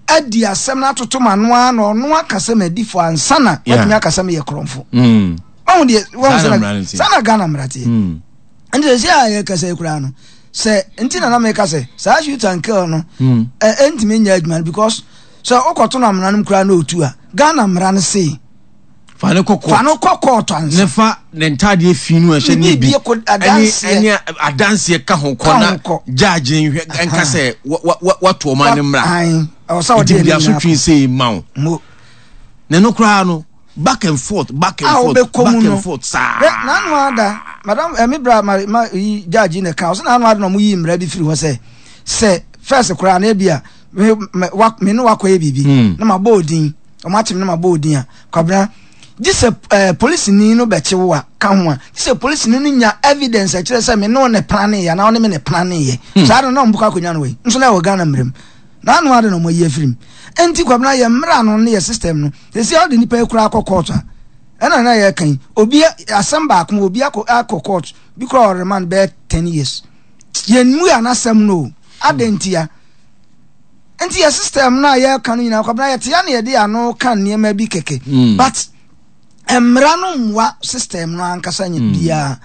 adi asɛm no atoto ma no ara na ɔno aka sɛ madi fɔ ansa na Yeah. watumi aka sɛ meyɛ korɔmfo. Mm. Ɔhu deɛ wahu Saa na sɛ mmara no teɛ. saa na Ghana mmara teɛ. Mm. Nti sɛ sɛ a yɛkasa yi koraa no sɛ nti na na meka sɛ saa shoot and kill no Mm. ɛ ɛntumi nyɛ adwuma no because sɛ wokɔto no amena no mu koraa na ɔtu a Ghana mmara no sei Fa ne kɔ court. Fa no kɔ court ansa. Ne fa ne ntaadeɛ fi no a ɛhyɛ ne bi Biribi kɔ- adanseɛ. ɛne adanseɛ ka ho kɔ Ka na ho kɔ. judge nhwɛ nka sɛ wa- wa- wa- wato ɔman ne mmara. Ae, ɛwɔ sɛ wɔde nti ɛno mede nyinaa asotwe sei ma wo. Mo. Na ɛno koraa no back and forth, back and a forth, wobɛkɔ back mu no and forth saa. Hwɛ, n'ano ada madam ɛmi bra ma ma yi judge na ka ɔsɛ n'ano ada na ɔmo yi mmara bi firi hɔ sɛ sɛ first koraa na ebi a me me wa me ne wakɔ yɛ biribi Hmm. na ma bɔ odin ɔmo akyem na ma bɔ odin a kwabena gye sɛ ɛɛ polisini no bɛkye wo a ka ho a gye sɛ polisini no nya evidence ɛkyerɛ sɛ me ne wo ne plan yɛ anaa wo ne me ne plan yɛ saa no na ɔmo bɛkɔ akonnwa no wɔ yi nso na ɛwɔ Ghana mmerɛ mu n'ano ada na ɔmo ayi afiri mu. Nti kwabena yɛ mmara no ne yɛ system no sisi a ɔde nipa yi koraa akɔ court a ɛna na yɛ kan obi asɛm baako obi akɔ akɔ court bi koraa ɔremand bɛyɛ ten years yɛn mu yɛ anasɛm no o adantia. Nti yɛ system no a yɛka no nyinaa kwabena yɛte ya na yɛde ano ka nneɛma bi kɛkɛ Mm. but mmara no mmoa system no ankasa nyɛ biara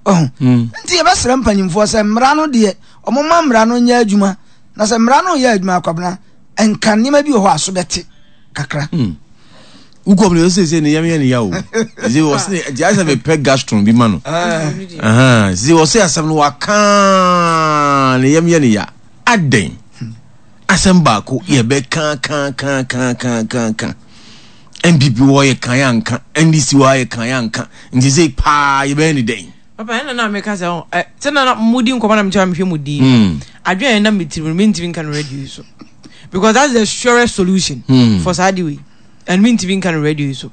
ɔho. Mm. Nti yɛbɛsrɛ mpanyimfoɔ sɛ mmara no deɛ ɔmoma mmara no nyɛ adwuma na sɛ mmara no yɛ adwuma akwabena nka nneɛma bi wɔ hɔ a so bɛte kakra. Mm. Wokɔ mu no sɛ sɛ ne yam yɛ ne ya o sɛ wɔ sɛ nti ayɛ sɛ mepɛ gastron bi ma no. Ahan, sɛ wɔ sɛ asɛm no waka ne yam yɛ ne ya adɛn asɛm baako yɛbɛka ka ka ka ka ka ka N P P wɔ yɛ kan yɛ anka N D C wɔ yɛ kan yɛ anka nti sɛ paa yɛbɛyɛ ne dɛn? Papa ɛna na meka sɛ ɔ ɛ sɛ na na mudi nkɔmɔ na mekyerɛ mehwɛ mu din Mm. adwene a ɛnam me tirim no mentumi nka no radio yi so because that's the surest solution Hmm. for saa de wei and mentumi nka no radio yi so.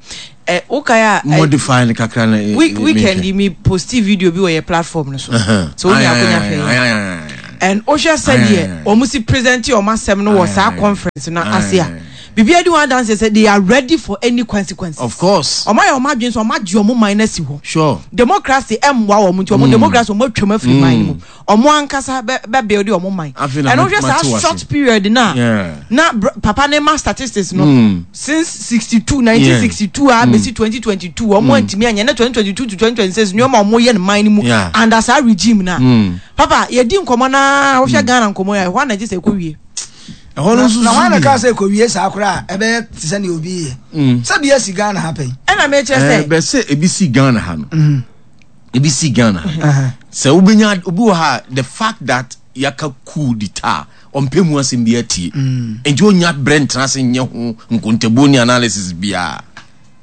Ɛ wokae a modify no kakra na week weekend yi mi post video bi wɔ yɛ platform no so so wo nya akonya hwɛ yɛ and wohwɛ sɛdeɛ wɔn si present wɔn asɛm no wɔ saa conference no ase a, biribi adi wɔn adanse sɛ they are ready for any consequences. Of course. Wɔn ayɛ wɔn adwene sɛ wɔn agye wɔn man no asi hɔ. Sure. Democracy ɛmmoa wɔn, nti wɔn democracy wɔn atwam afiri man no mu, wɔn ankasa bɛ bɛ build wɔn man. Ɛno wohwɛ saa short period na na papa ne ma statistics no mm. since sixty two nineteen sixty two a besi twenty twenty two wɔn antumi anyɛ na twenty twenty two to twenty twenty six nneɛma wɔn yɛ no man no mu under saa regime na papa yɛdi nkɔmɔ naa, wohwɛ Ghana nkɔmɔ yɛ ɛhɔ anagye sɛ ɛkɔ wie. Ɛhɔ no nso na wɔn na kaa sɛ ɛkɔ wie saa koraa, ɛbɛyɛ te sɛ nea obi yɛ sɛ bi asi Ghana ha pɛn. Ɛna mɛkyerɛ sɛ ɛbɛ sɛ ebi si Ghana ha no, ebi si Ghana ha sɛ wobɛnya obi wɔ ha, the fact that yɛaka coup d'etat, ɔmpɛ mu asɛm bi atie, nti onya brɛ ntena ase nyɛ ho nkontabuo ne analysis biara.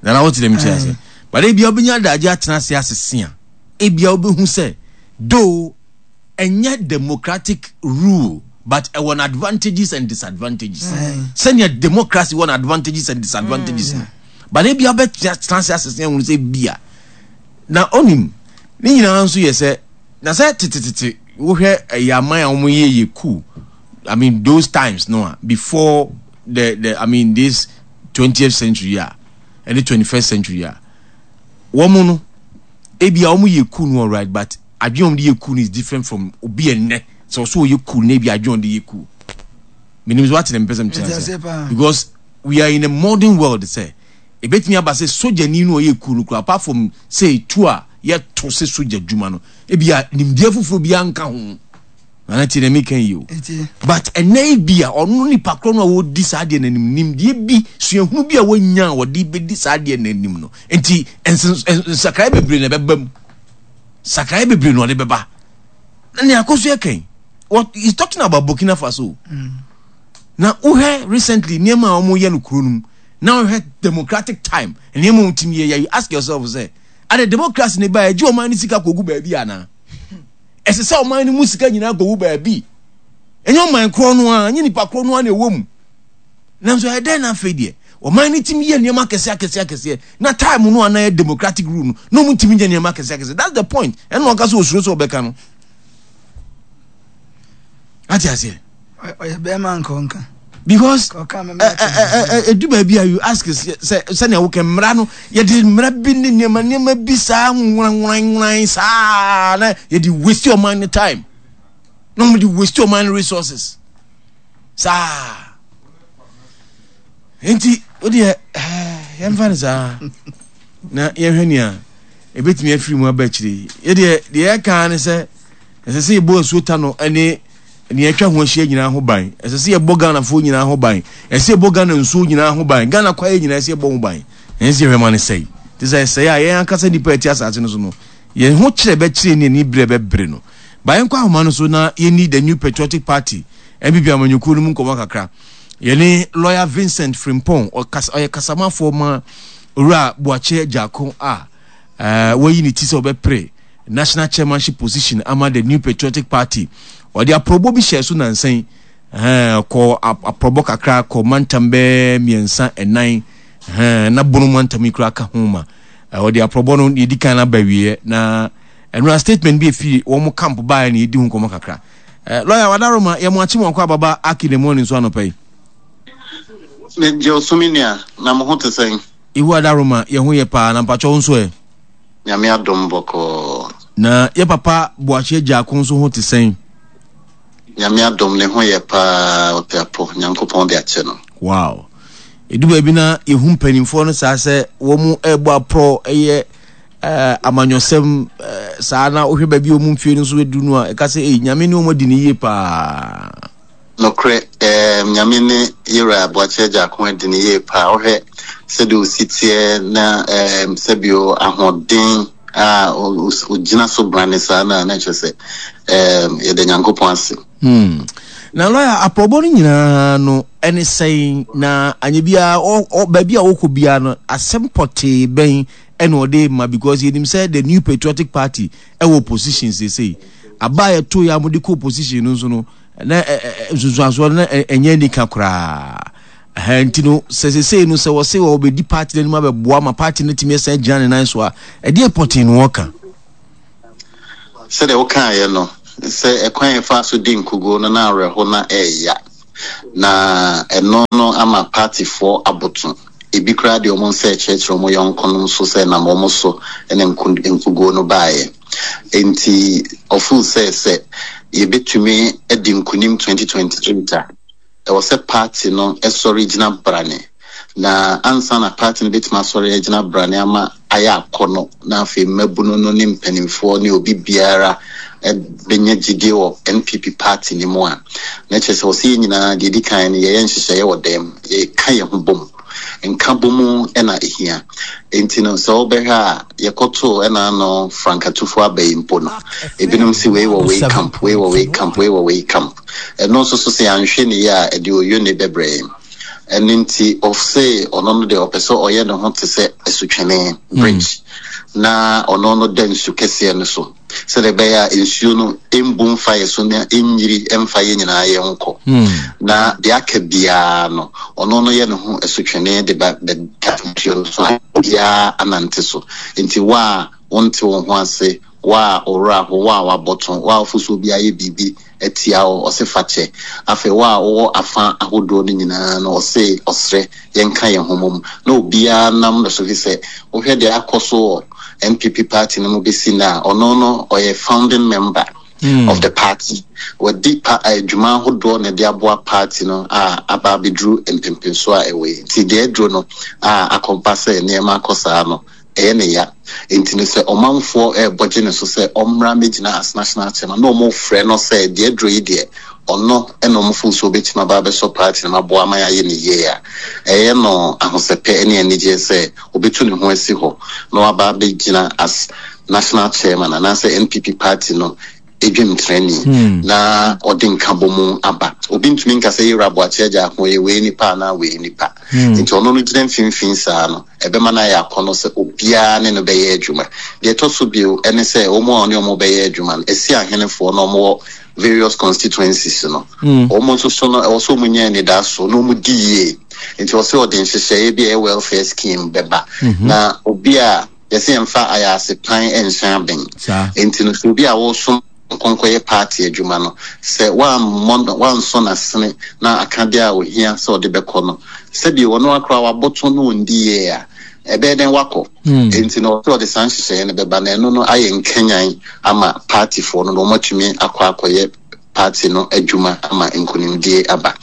Nana, wote dɛm kyerɛ sɛ, but ebia wobɛnya adagye atena ase asese a, ebia wobɛhu sɛ though ɛnyɛ democratic rule, but ɛwɔ no advantages and disadvantages, sɛnea democracy wɔ no advantages and disadvantages no. But ebia wobɛtena ase asese ahunu sɛ bia na onim ne nyinaa nso yɛ sɛ na sɛ tetetete wohwɛ ɛyɛ aman a wɔn yɛ yɛ coup, I mean, those times no a before the the I mean, this twentieth century a ɛne twenty first century a, wɔn no ebi a wɔn yɛ coup no, alright, but adwene wɔn de yɛ coup no is different from obi ɛnɛ sɛ ɔso ɔyɛ coup no, ebi adwene wɔn de yɛ coup. Menim so ate na mpɛ sɛ mkyerɛ sɛ because we are in a modern world sɛ ebetumi aba sɛ sogyani no ɔyɛ coup no kura, apart from sɛ etu a yɛto sɛ sogya dwuma no, ebi a nimdeɛ foforɔ bi anka ho. Nana, tie na mi kan yi o, but ɛnɛ yi bi a ɔno nipa korɔ no a wɔdi saa adeɛ n'anim, nimdeɛ bi, suahunu bi a wɔnya a wɔde bɛdi saa adeɛ n'anim no, nti nsakraeɛ bebree na ɛbɛba mu, sakraeɛ bebree na ɔde bɛba. Na nea akɔ so yɛ kan, what he's talking about, Burkina Faso mm. na wohwɛ recently nneɛma a wɔyɛ no kuro no mu, na wohwɛ democratic time nneɛma a wɔtumi yɛ, you ask yourself sɛ ade democracy ne ba ɛgye ɔman no sika kɔgu baabi anaa? Ɛsɛ sɛ ɔman no mu sika nyinaa kɔgu baabi? Ɛnyɛ ɔman korɔ no a, ɛnyɛ nipa korɔ no a na ɛwɔ mu, nanso ɛyɛ dɛn na afei deɛ ɔman no tumi yɛ nneɛma akɛseɛ akɛseɛ akɛseɛ, na time no a na yɛ democratic rule no na ɔmo ntumi nyɛ nneɛma akɛseɛ akɛseɛ? That's the point. Ɛna ɔka sɛ osuro sɛ ɔbɛka no, ate aseɛ? Ɔyɛ bɛrima nka ɔnka. Because edu baabi a you ask sɛ sɛnea wokɛ mmara no, yɛde mmara bi ne nneɛma nneɛma bi saa nworanworanworan saa na yɛde waste ɔman no time, na wɔn de waste ɔman no resources saa. Nti o deɛ, yɛmfa no saa na yɛhwɛ nea ebetumi afiri mu aba akyire. Yɛdeɛ deɛ yɛka ne sɛ ɛsɛ sɛ yɛbɔ asuo ta no ne nea atwa ho ahyia nyinaa ho ban. Ɛsɛ sɛ yɛbɔ Ghanafoɔ nyinaa ho ban. Ɛsɛ sɛ yɛbɔ Ghana nsuo nyinaa ho ban, Ghana kwaeɛ nyinaa ɛsɛ yɛbɔ ho ban. Ɛnyɛ sɛ yɛhwɛ ma no sɛe te sɛ ɛsɛe a yɛn ankasa nnipa a ɛte asase no so no yɛn ho kyerɛ bɛkyerɛ ne ani berɛ bɛbere no. Ba yɛnkɔ ahoma no so na yɛni the New Patriotic Party, N P P amanyɔkuo no mu nkɔmmɔ kakra. Yɛne lawyer Vincent Frimpong, ɔyɛ kasamafoɔ ma Owura Boakye Agyarko a uh, wayi ne ti sɛ ɔbɛpere national chairmanship position ama the New Patriotic Party. Ɔde aprɔbɔ bi hyɛ so nansan kɔ aprɔbɔ kakra kɔ mantam bɛɛ mmiɛnsa ɛnan na Bono mantam yi koraa ka ho ma ɔde aprɔbɔ no yɛdi kan aba wieɛ, na ɛnora statement bi efiri wɔn camp baeɛ na yɛdi ho nkɔmɔ kakra. Lawyer Wadaroma, yɛ mo akyi mo akɔ ababa aki ne morning so anɔpa yi. Megye osumi nua, na mo ho te sɛn? Ihu Adaroma, yɛ ho yɛ paa, na mpakyɛw nso ɛ? Nyame adom, bɔkɔɔ. Na yɛ papa Boakye Agyarko nso ho te sɛn? Nyame adom, ne ho yɛ paa, ɔte apɔ, Nyankopɔn de akyɛ no. Wow. Edu baabi na yɛhu mpanimfoɔ no saa sɛ wɔn ɛrebɔ aporɔ, ɛyɛ ɛɛ amanyɔsɛm ɛɛ saa, na wohwɛ baabi a wɔn mfie no nso edu no a, ɛka sɛ ɛyi Nyame ne wɔn adi ne yie paa. Nokorɛ, ɛɛm, Nyame ne Yewura Boakye Agyarko adi ne yie paa. Wohwɛ sɛdeɛ osi teɛ na ɛɛm, sɛbio ahoɔden a ogyina so brane saa na na kyerɛ sɛ ɛɛm, yɛda Nyankopɔn ase. Hmm. Na lawyer, aprɔbɔ no nyinaa no ɛne sɛn na anyɛ biara baabi a wɔkɔ biara no, asɛm pɔtee bɛn ɛna ɔde ma? Because yɛnim sɛ the New Patriotic Party ɛwɔ opposition seesei. Aba a yɛto yɛ a mode kɔ opposition no nso no, na nsunsuansoɔ no na ɛnyɛ anika koraa. Ɛhɛn, nti no sɛ sesei no sɛ wɔse wɔbɛdi party no anim abɛboa ma party no atumi asan agyina ne nan so a, ɛdeɛ pɔtee na wɔka? Sɛdeɛ wokaeɛ no, sɛ ɛkwan a yɛfaa so di nkoguo no na awerɛho na ɛreya, na ɛno no ama partyfoɔ aboto. Ebi koraa de wɔn nsa rekyerɛkyerɛ wɔn yɔnkonom so sɛ ɛnam wɔn so na nkoguo no baeɛ. Enti ɔfeel sɛ sɛ yɛbɛtumi adi nkonim twenty twenty eight a, ɛwɔ sɛ party no sɔre gyina brane. Na ansa na party no bɛtumi asɔre agyina brane ama ayɛ akɔnnɔ, na afei mmabunu no ne mpanimfoɔ ne obi biara bɛnya gyidie wɔ N P P party no mu a, na kyerɛ sɛ wɔ sɛ yɛn nyinaa deɛ ɛdi kan no yɛyɛ nhyehyɛeɛ wɔ dan mu, yɛka yɛn ho bom. Nka bom na ɛhia. Enti no sɛ wobɛhwɛ a, yɛkɔtoo ɛna ano frankatufo aba yi mpo no, ebinom si wei wɔ wei camp, wei wɔ wei camp, wei wɔ wei camp. Ɛno nso so sɛ yɛanhwɛ ne yie a, ɛde oyone bɛbrɛ yɛn. Ɛno nti ɔse ɔno no deɛ ɔpɛ sɛ ɔyɛ ne ho te sɛ asutwene, bridge, na ɔno no da nsu kɛseɛ no so, sɛdeɛ ɛbɛyɛ a nsuo no mbu mfa yɛ so na ɛnyiri mfa yɛ nyinaa yɛ nkɔ. Na deɛ aka biara no, ɔno no yɛ ne ho asutwene de ba bɛda nsuo no so a biara anante so. Nti wo a wonte wo ho ase, wo a owura ho, wo a wabɔto, wo a wofosuo bi ayɛ biribi atia wo, ɔse fa kyɛ. Afei wo a wowɔ afa ahodoɔ no nyinaa no, ɔse ɔsrɛ yɛnka yɛn ho mmom na obiara nam no so, fi sɛ wohwɛ deɛ akɔ so wɔ N P P party no mu bɛsi na ɔno no ɔyɛ founding member mm. of the party. Wɔdi pa adwuma ahodoɔ na ɛde aboa party no a aba abɛduru mpempemso a ɛwɔ yi. Nti deɛ aduro no a akɔba sɛ nneɛma akɔ saa no, ɛyɛ ne ya. Nti no sɛ ɔmanfoɔ ɛrebɔ gye ne so sɛ ɔmmra mmɛgyina as national chairman na ɔmo frɛ no sɛ deɛ aduro yi deɛ ɔno ɛna ɔmo fo so obɛtumi aba abɛsɔ party no aboa ama yɛayɛ ne yie a, ɛyɛ no ahosɛpɛ ne anigyeɛ sɛ obɛtu ne ho asi hɔ na waba abɛgyina as national chairman anaasɛ N P P party no edwemtrani hmm. na ɔde nkabɔ mu aba. Obi ntumi nka sɛ yɛwura Aboakye agya ako yɛ wei nipa anaa wei nipa. Hmm. Nti ɔno no gyina mfimfini saa no, ɛbɛma no ayɛ akɔnnɔ sɛ obiara ne no bɛyɛ adwuma. Deɛ ɛtɔ so bio ɛne sɛ wɔn a ɔne wɔn bɛyɛ adwuma no, esi ahenefoɔ na wɔn wɔ various constituencies no. Hmm. Wɔn nso so no, ɛwɔ sɛ wɔn nya anidaso na wɔn di yie. Nti ɔsɛ ɔde nhyehyɛeɛ bi a ɛyɛ welfare scheme bɛba. Na obi a yɛsɛ yɛmfa ayase pan nhyɛn abɛn. Nti no sɛ obi a wɔsom nkɔnkɔyɛ party adwuma no, sɛ wammɔ wansɔ n'asene na akadeɛ a ohia sɛ ɔde bɛkɔ no, sɛbi ɔno akora waboto no ondi yie a, ɛbɛyɛ dɛn wakɔ. Nti no ɔsɛ ɔde saa nhyehyɛeɛ no bɛba, na ɛno no ayɛ nkanyan ama partyfoɔ no na wɔatumi akɔ akɔyɛ party no adwuma ama nkonimdie aba.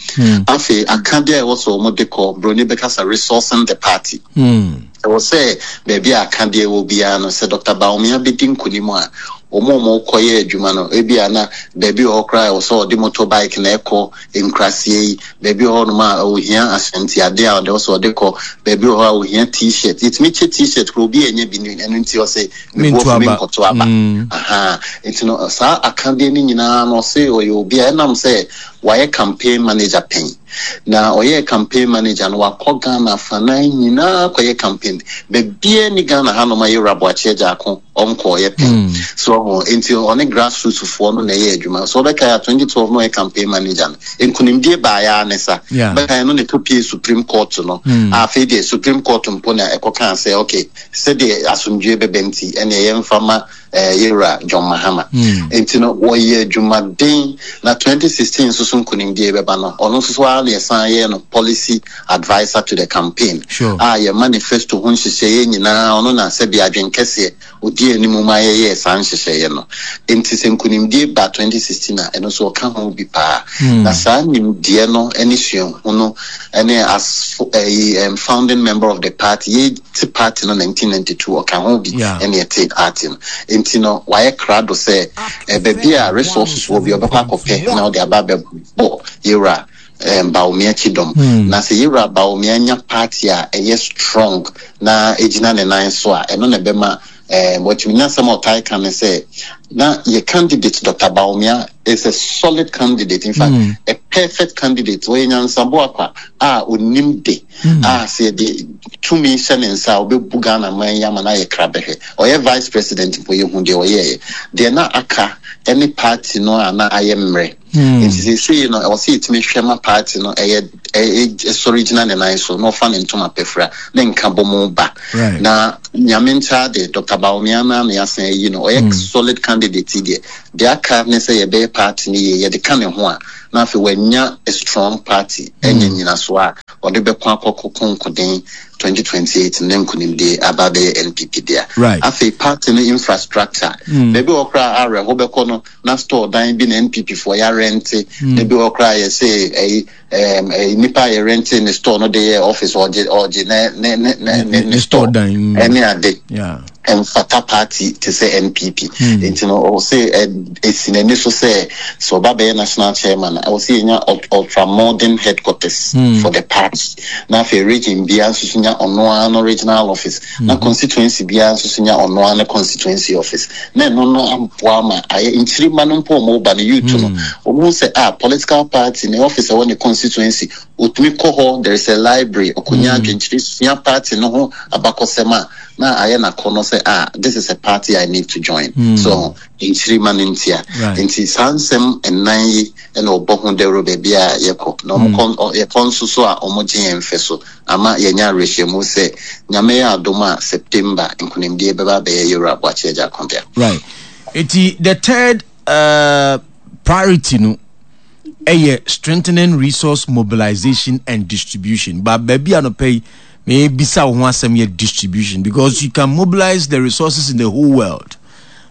Afei akadeɛ a ɛwɔ sɛ wɔn de kɔ, broni bɛkasa resourcing the party. Ɛwɔ sɛ baabi a akadeɛ wɔ biara no, sɛ Doctor Bawumia bɛdi nkonim a, wɔn a wɔkɔyɛ adwuma no, ebi a na baabi wɔ hɔ koraa ɛwɔ sɛ ɔde motorbike na ɛkɔ nkuraseɛ yi, baabi wɔ hɔnom a ohia ahyɛntiadeɛ a ɔde sɛ ɔde kɔ, baabi wɔ hɔ a ohia t-shirt, yɛtumi kyɛ t-shirt koraa obi a ɛnyɛ bi no, ɛno nti ɔsɛ mebuafo mi nkɔto aba. Aha, nti no saa akadeɛ no nyinaa no ɔsɛ ɔyɛ obi a ɛnam sɛ wayɛ campaign manager pɛn. Na ɔyɛ campaign manager no, wakɔ Ghana afanan nyinaa kɔyɛ campaign. Baabiara ni Ghana hanom a yɛwura Aboakye Agyarko ɔnkɔɔyɛ pɛn. So ɔho nti ɔne grassroots foɔ no na ɛyɛ adwuma. So ɔbɛkae a twenty twelve no ɔyɛ campaign manager no, nkonimdie baeɛ ne sa. Bɛkae no ne kɔpie Supreme Court no. Afei deɛ Supreme Court mpo na ɛkɔkaa sɛ okay, sɛdeɛ asomdwie bɛbɛ nti ɛne yɛmfa ma yɛwura John Mahama. Nti no wɔyɛ adwumaden na twenty sixteen nso so nkonimdie bɛba no, ɔno nso so ara na yɛsan yɛ no policy adviser to the campaign. A yɛ manifesto ho nhyehyɛeɛ nyinaa ɔno na sɛbi adwen kɛseɛ odi anim ma yɛyɛɛ saa nhyehyɛeɛ no. Nti sɛ nkonimdie ba twenty sixteen a, ɛno nso ɔka ho bi paa. Na saa nimdeɛ no ne suahu no ne as ɛyi founding member of the party, yɛte party no nineteen ninety-two ɔka ho bi ɛne ɛte party no. Nti no wayɛ krado sɛ baabi a resources wɔ bi ɔbɛkɔ akɔpɛ na ɔde aba abɛbɔ yɛwura Bawumia kyidɔm. Na sɛ yɛwura Bawumia nya party a ɛyɛ strong na egyina ne nan so a, ɛno na ɛbɛma wɔtumi nya asɛm a ɔtae ka ne sɛ na yɛ candidate Doctor Bawumia is a solid candidate, in fact mm. a perfect candidate. Ɔyɛ nyansaboakwa a onim de a sɛ yɛde tumi hyɛ ne nsa a, ɔbɛbu Ghana man yi ama no ayɛ krabɛhwɛ. Ɔyɛ vice president mpo, yɛhu deɛ ɔyɛɛyɛ. Deɛ na aka ne party no a na ayɛ mmerɛ. Nti seesei no, ɛwɔ sɛ yɛtumi hwɛ ma party no ɛyɛ ɛsɔre gyina ne nan so na ɔfa ne ntoma pɛfira ne nka bɔ mu ba. Right. Na Nyame nkyɛ de, Doctor Bawumia no na yɛasan ayi no, ɔyɛ solid candidate yi deɛ, deɛ aka ne sɛ yɛbɛyɛ party no yie, yɛde ka ne ho a, na afei wanya a strong party, ɛnya nyinasoɔ a ɔde bɛko akɔko konkoden twenty twenty-eight ne nkonimdie aba abɛyɛ N P P dea. Right. Afei party no infrastructure, baabi wɔ koraa awerɛho bɛkɔ no na store dan bi na N P P foɔ yɛarɛnte, na bi wɔ koraa yɛsɛ ɛyi ɛm ɛyi nipa a yɛrɛnte ne store no de yɛ office, ɔgye ɔgye ne ne ne ne ne ne store dan, mm. Ɛne ade Yeah. ɛmfata party te sɛ N P P. Nti no ɔwɔ sɛ ɛ- ɛsi n'ani so sɛ sɛ ɔba bɛyɛ national chairman a, ɛwɔ sɛ yɛnya ult- ultra modern headquarters for the party, na afei region biara nso so nya ɔno ara no regional office, na constituency biara nso so nya ɔno ara no constituency office, na ɛno no aboa ma ayɛ nkyirima no mpo a ɔmo ba no, youth no, ɔmo hu sɛ ah, political party ne office a ɛwɔ ne constituency, otumi kɔ hɔ, there is a library, ɔkɔnya adwenkyerɛ, sua party no ho abakɔsɛm a na ayɛ n'akɔnɔ sɛ ah, this is a party I need to join. So nkyirima no ntia. Right. Nti saa nsɛm nnan yi ɛna ɔbɔ ho dawuro baabi a yɛkɔ na ɔmo kɔ ɔ- yɛkɔ nso so a, ɔmo gye yɛn mfɛ so ama yɛnya awerɛhyɛmu sɛ Nyame yɛ adom a, September nkonimdie bɛba abɛyɛ Yɛwura Aboakye Agyarko dea. Right. Eti the third uh, priority no ɛyɛ strengthening resource mobilization and distribution. But baabi a nɔpɛ yi mebisa wo ho asɛm yɛ distribution, because you can mobilize the resources in the whole world,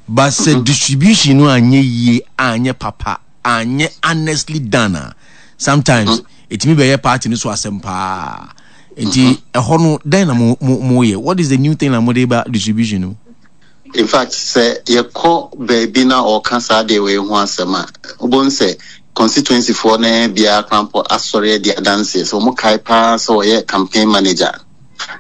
but sɛ distribution no anyɛ yie, anyɛ papa, anyɛ honestly done a, sometimes ɛtumi bɛyɛ party no so asɛm paa. Nti ɛhɔ no dɛn na mo mo moyɛ? What is the new thing na mode ba distribution no? In fact, sɛ yɛkɔ baabi na ɔka saa deɛ wei ho asɛm a, wobɛhu sɛ constituency foɔ no biara koraa mpo asɔre adi adanseɛ sɛ ɔmo kae paa sɛ ɔyɛ campaign manager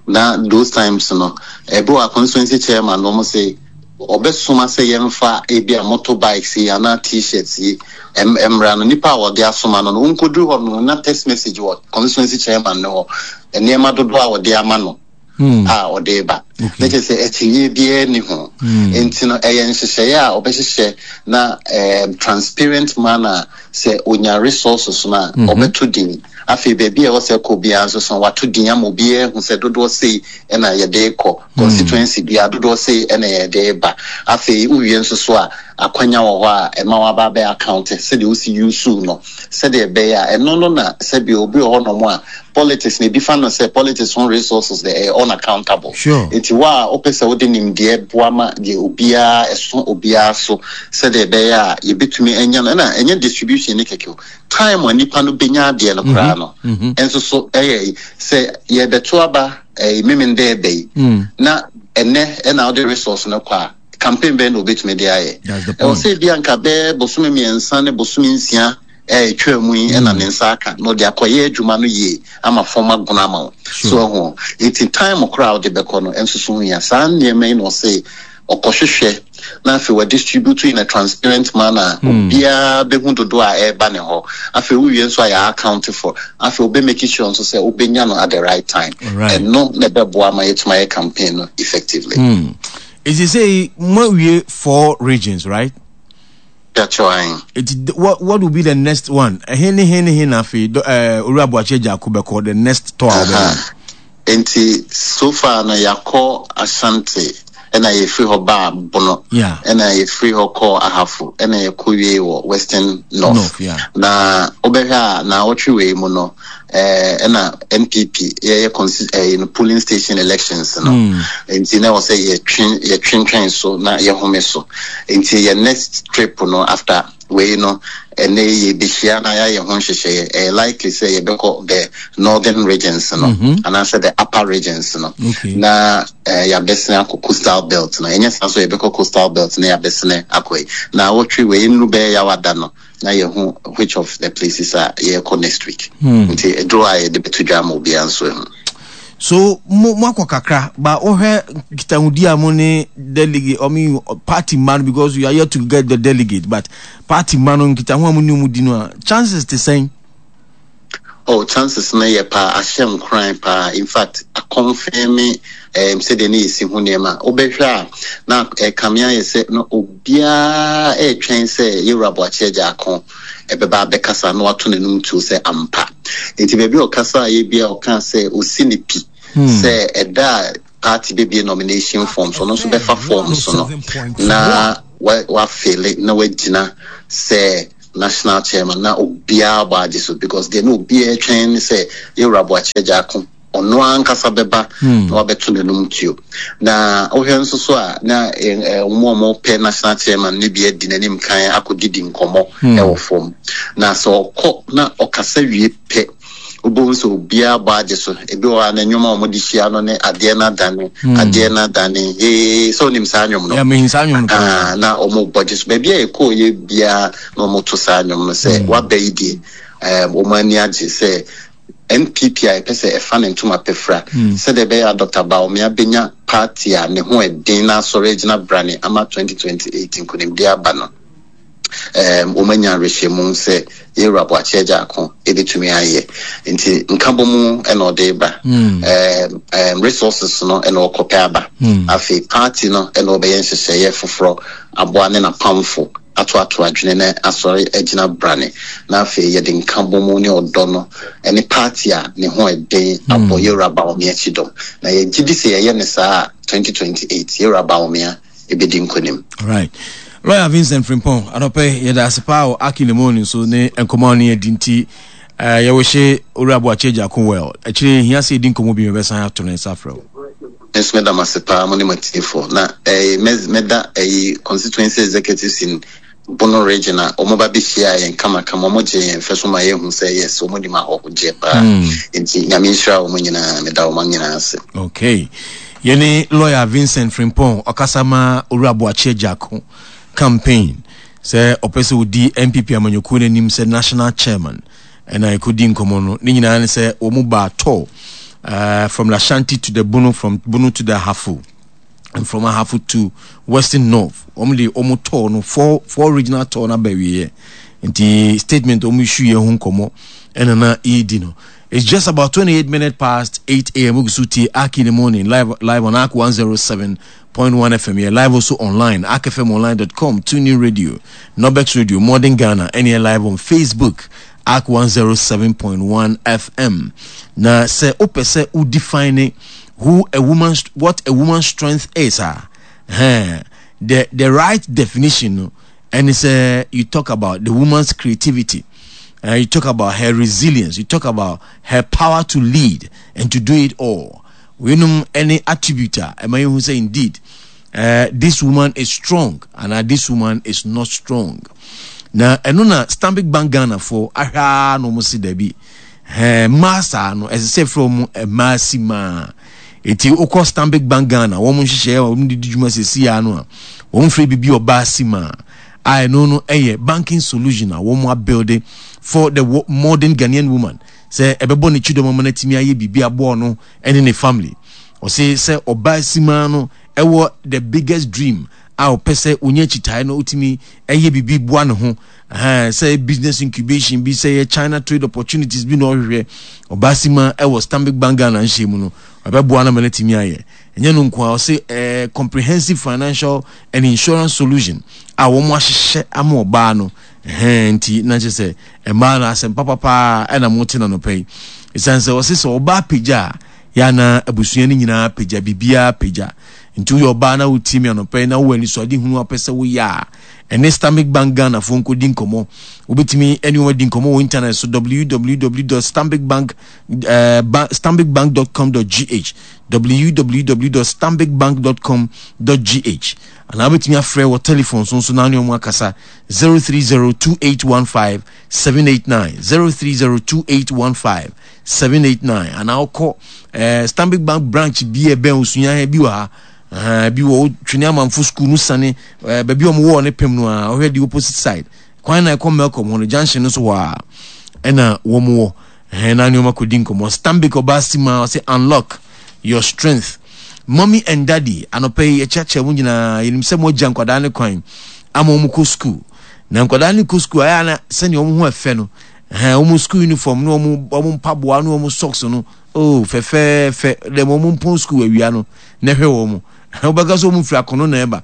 na those times no, ɛbi wɔ a constituency chairman no, ɔmo sɛ ɔbɛsoma sɛ yɛmfa ebi a motorbikes yi anaa T-shirts yi ɛm- ɛmmra no, nipa a wɔde asoma no no nkɔduru hɔ no na text message wɔ constituency chairman no hɔ, nneɛma dodoɔ a wɔde ama no Hmm. a ɔde ba. Okay. Na kyerɛ sɛ akyinnye biara ni ho. Nti no ɛyɛ nhyehyɛeɛ a ɔbɛhyehyɛ na um, transparent manner sɛ onya resources no a, ɔbɛto din. Afei baabi a ɛwɔ sɛ kɔ biara nso so, wato din ama obiara hu sɛ dodoɔ sei ɛna yɛde kɔ constituency biara, dodoɔ sei ɛna yɛde ba. Afei wowie nso so a, akwanya wɔ hɔ a ɛma waba bɛ account sɛdeɛ wosi use no, sɛdeɛ ɛbɛyɛ a ɛno no na sɛdeɛ obi wɔ hɔnom a politics na ebi fa no sɛ politics ho resources de ɛyɛ unaccountable. Sure. Nti wo a wopɛ sɛ wode nimdeɛ boa ma deɛ obiara ɛso obiara so, sɛdeɛ ɛbɛyɛ a yɛbɛtumi anya no, ɛna ɛnyɛ distribution ne kɛkɛ o, time a nipa no bɛnya adeɛ no koraa no ɛnso so ɛyɛ sɛ yɛbɛto aba ɛyɛ memendɛ ɛbɛ yi Mm. na ɛnɛ ɛna wode resource no kɔ a, campaign bɛn na obɛtumi de ayɛ? That's the Ɛwɔ point. sɛ ebi anka bɛɛ bosome mmiɛnsa ne bosome nsia ɛɛ etwa mu yi ɛna ne nsa aka na ɔde akɔyɛ adwuma no yie ama fam agono ama wo. Sure. So ɛho nti time koraa a wode bɛkɔ no ɛnso so ho hia. Saa nneɛma yi na ɔsɛ ɔkɔhwehwɛ na afei wɔ distribute in a transparent manner, obiara bɛhu dodoɔ a ɛreba ne hɔ. Afei wowie nso a, yɛ account for. Afei wobɛ make sure nso sɛ wobɛnya no at the right time. Alright. Ɛno na ɛbɛboa ma yɛtumi ayɛ campaign no effectively. Hmm. Is it say mo wie four regions, right? Kyerɛkyerɛ. It, what what will be the next one? Ɛhe ne he ne he na afei do- eh, Owura Aboakye Agyarko bɛkɔ the next tour a ɔbɛyɛ? Nti so far no yɛakɔ Ashanti, ɛna yɛfiri hɔ baa Bono, Yeah. ɛna yɛfiri hɔ kɔɔ Ahafo, ɛna yɛkɔ wie wɔ Western North. North, yeah. Na wobɛhwɛ a, na wɔtwe wei mu no eh, ɛna N P P yɛyɛ consi- eh, no polling station elections no. Mm. Nti na ɛwɔ sɛ yɛtwe yɛtwentwɛn so na yɛhome so. Nti yɛ next trip no after wei no, ɛnɛ yɛbɛhyia na yɛayɛ ho nhyehyɛeɛ. Ɛyɛ likely sɛ yɛbɛkɔ the northern regions no Mhm. anaasɛ the upper regions no Okay. na eh, yɛabɛsene akɔ coastal belt no. Ɛnyɛ saa so, yɛbɛkɔ coastal belt na yɛabɛsene akɔ yi na wɔtwe wei nnuru bɛyɛ yɛawada no na yɛhu which of the places a yɛrekɔ next week. Hmm. Nti ɛduro a yɛde bɛto dwa ama obiara nso ahu. So mo mo akɔ kakra ba, wohwɛ nkitahodi a mo ne delegate, I mean party man, because you are here to get the delegate, but party man no, nkitaho a mo ne ɔmo di no a, chances te sɛn? Oh, chances no yɛ paa, ahyɛ nkoran paa. In fact, aconfirm um, sɛdeɛ ne yɛsi ho nneɛma. Wobɛhwɛ a, na ɛkame ayɛ sɛ na obiara ɛretwɛn sɛ yɛwura Boakye Agyarko ɛbɛba abɛkasa na wato n'anum tuo sɛ ampa. Nti baabi a ɔkasa a yɛ bia ɔka sɛ osi ne pi sɛ ɛda a party bɛbie nomination forms, ɔno nso bɛfa forms no na wafele na wagyina sɛ national chairman, na obiara bɔ agye so, because deɛ na obiara twɛn ne sɛ yɛwura Boakye Agyarko ɔno ankasa bɛba na wabɛto n'anum tuo. Na wohwɛ nso so a, na wɔn a wɔpɛ national chairman ne bi adi n'anim kan akɔdidi nkɔmmɔ ɛwɔ fam. Na sɛ ɔkɔ na ɔkasa wie pɛ, wobɛhu sɛ obiara bɔ agye so. Ebi wɔ hɔ a, na nnwom a wɔde hyia no ne "Adeɛ no adane, adeɛ no adane hee", sɛ wonim saa nnwom no. Mehu saa nnwom no paa. Ah, na wɔn bɔ gye so baabi a yɛkɔɔ yɛ biara na wɔn to saa nnwom no sɛ waba yi deɛ, ɛɛm, wɔn ani agye sɛ N P P a yɛpɛ sɛ ɛfa ne ntoma pɛfra sɛdeɛ ɛbɛyɛ a Doctor Bawumia bɛnya party a ne ho ɛden na asɔre agyina brane ama twenty twenty-eight nkonimdi aba no, um, wɔn anya awerɛhyɛmu sɛ yɛwura Boakye Agyarko ɛbɛtumi ayɛ. Nti nkabɔ mu ɛna ɔde ba, um, um, resources no ɛna ɔkɔpɛ aba. Afei party no ɛna ɔbɛyɛ nhyehyɛeɛ foforɔ aboa ne n'apamfo atoato adwene na asɔre agyina brane, na afei yɛde nkabɔ mu ne ɔdɔ no ɛne party a ne ho ɛden abɔ yɛwura Bawumia akyi dɔm. Na yɛgye di sɛ yɛyɛ ne saa a, twenty twenty-eight yɛwura Bawumia ɛbɛdi nkonim. Right, Lawyer Vincent Frimpong, anɔpɛ yɛda ase paa wɔ Aki ne Morning so ne nkɔmmɔ a ne yɛdi. Nti uh, yɛwɔhyɛ Owura Boakye Agyarko well. Akyire hia sɛ yɛdi nkɔmmɔ bi, mɛbɛsan ato ne nsa frɛ wo. Nso mɛda mo ase paa, mo ne matiefoɔ. Na eh, mɛda ɛyi constituency executives in Bono Region a wɔn ba bɛhyia yɛn kamakama, wɔn gye yɛn fɛ so ma yɛhu sɛ yes, wɔn nim ahɔhogyeɛ paa. Nti Nyame nhyira wɔn nyinaa, meda wɔn nyinaa ase. Okay, yɛne Lawyer Vincent Frimpong, ɔkasa ma Owura Boakye Agyarko campaign sɛ ɔpɛ sɛ ɔdi N P P amanyɔkuo no anim sɛ national chairman, ɛna ɛkɔdi nkɔmmɔ no. Ne nyinaa ne sɛ wɔn mu baa tour uh, from the Ashanti to the Bono, from Bono to the Ahafo and from Ahafo to Western North. Wɔn de wɔn tour no, four four regional tour no aba awieɛ, nti statement wɔn issue yɛ ho nkɔmmɔ ɛna na yɛredi no. It's just about twenty-eight minutes past eight a m. Ogu so tie Ark in the Morning live live on Ark one oh seven point one F M. Yeah, live also online, ark F M online dot com, TuneIn Radio, Nobex Radio, Modern Ghana, and here live on Facebook, Ark one oh seven point one F M. Na sɛ wopɛ sɛ wo define who a woman, what a woman's strength is, ah, eh, the the right definition no, and it's uh, you talk about the woman's creativity. Uh, you talk about her resilience. You talk about her power to lead and to do it all. Weinom any attribute a ɛma yɛhu sɛ indeed uh, this woman is strong and uh, this woman is not strong. Na ɛno na Stanbic Bank Ghana fo ahwɛ a na wɔn si dabi, ɛɛ mmaa saa no, ɛsɛ sɛ ɛfrɛ wɔn mmaa si maa. Eti okɔ Stanbic Bank Ghana wɔn nhyehyɛeɛ a wɔn de di dwuma sisi ya no a, wɔn frɛ bibi ɔbaa si maa a, ɛno no ɛyɛ banking solution a wɔn abuild for the modern Ghanaian woman sɛ ɛbɛbɔ ne kyidɔm ama no atumi ayɛ biribi aboɔ no ɛne ne family. Ɔse sɛ ɔbaa simaa no ɛwɔ the biggest dream a ɔpɛ sɛ onye akyitaeɛ no, ɔtumi ɛyɛ biribi boa ne ho, sɛ business incubation bi, sɛ yɛ China trade opportunities bi na ɔhwehwɛ, ɔbaa sima ɛwɔ Stanbic Bank Ghana nhyɛn mu no, ɔbɛboa no ma no atumi ayɛ. Ɛnyɛ no nko a, ɔse ɛɛ comprehensive financial and insurance solution a wɔn ahyehyɛ ama ɔbaa no. Ɛhɛn, nti na kyerɛ sɛ mmaa no asɛm papapaa ɛna mo te na nɔpɛ yi, ɛsiane sɛ ɔse sɛ ɔbaa pagya a, yɛana abusua no nyinaa pagya, biribiara pagya. Nti woyɛ ɔbaa na wotie mi anɔpɛ yi na wowɔ anisoade hunu apɛ sɛ woyɛ a, ɛne Stanbic Bank Ghana foɔ nkɔdi nkɔmmɔ. Wobɛtumi ɛne wɔn adi nkɔmmɔ wɔ internet so, W W W dot stanbicbank uh, stanbicbank dot com dot G H, W W W dot stanbicbank dot com dot G H, anaa wobɛtumi afrɛ wɔ telephone so nso na ne ɔmo akasa, zero three zero two eight one five seven eight nine, zero three zero two eight one five seven eight nine, anaa wokɔ eh, Stanbic Bank branch bi a ɛbɛn osua bi wɔ ha uh, bi wɔ Twene Amanfo School no sane uh, baabi a ɔmo wɔ ne pem no a, ɔhwɛ the opposite side kwan na ɛkɔ Melcom hɔ no, junction no so hɔ a ɛna wɔn wɔ ɛhɛn na nneɛma kɔdi nkɔmmɔ. Stanbic ɔbaa si ma ɔsɛ unlock your strength. Mommy and daddy, anɔpɛ yi yɛkyerɛkyerɛ mu nyinaa, yɛnim sɛ mo agya nkwadaa ne kwan ama wɔn kɔ school, na nkwadaa ne kɔ school ayɛ ana sɛnea wɔn ho ɛfɛ no. Ɛhɛn, wɔn school uniform ne wɔn wɔn mpaboa ne wɔn socks no, oh, fɛfɛɛfɛ. Dɛm wɔn mpɔn school awia no, na ɛhwɛ wɔn. Wobɛka sɛ wɔn firi akono na ɛba.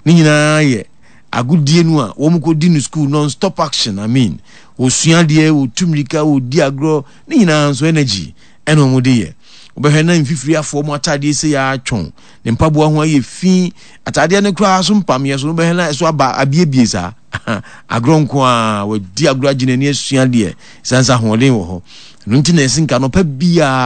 Ne nyinaa yɛ agodie no a wɔn kɔdi no school non stop action. I mean, wɔsua adeɛ, wɔtu mmirika, wɔdi agorɔ, ne nyinaa nso energy ɛna wɔn de yɛ. Wobɛhwɛ na mfifiri afɔ wɔn ataadeɛ sɛ yɛ atwɔn, ne mpaboa ho ayɛ fi, ataadeɛ no koraa so mpameɛ so, wobɛhwɛ na ɛso aba abiebie saa. Agorɔ nko ara, wɔadi agorɔ agye n'ani asua adeɛ, ɛsiane sɛ ahoɔden wɔ hɔ. Ɛno nti na ɛse nka anɔpa biara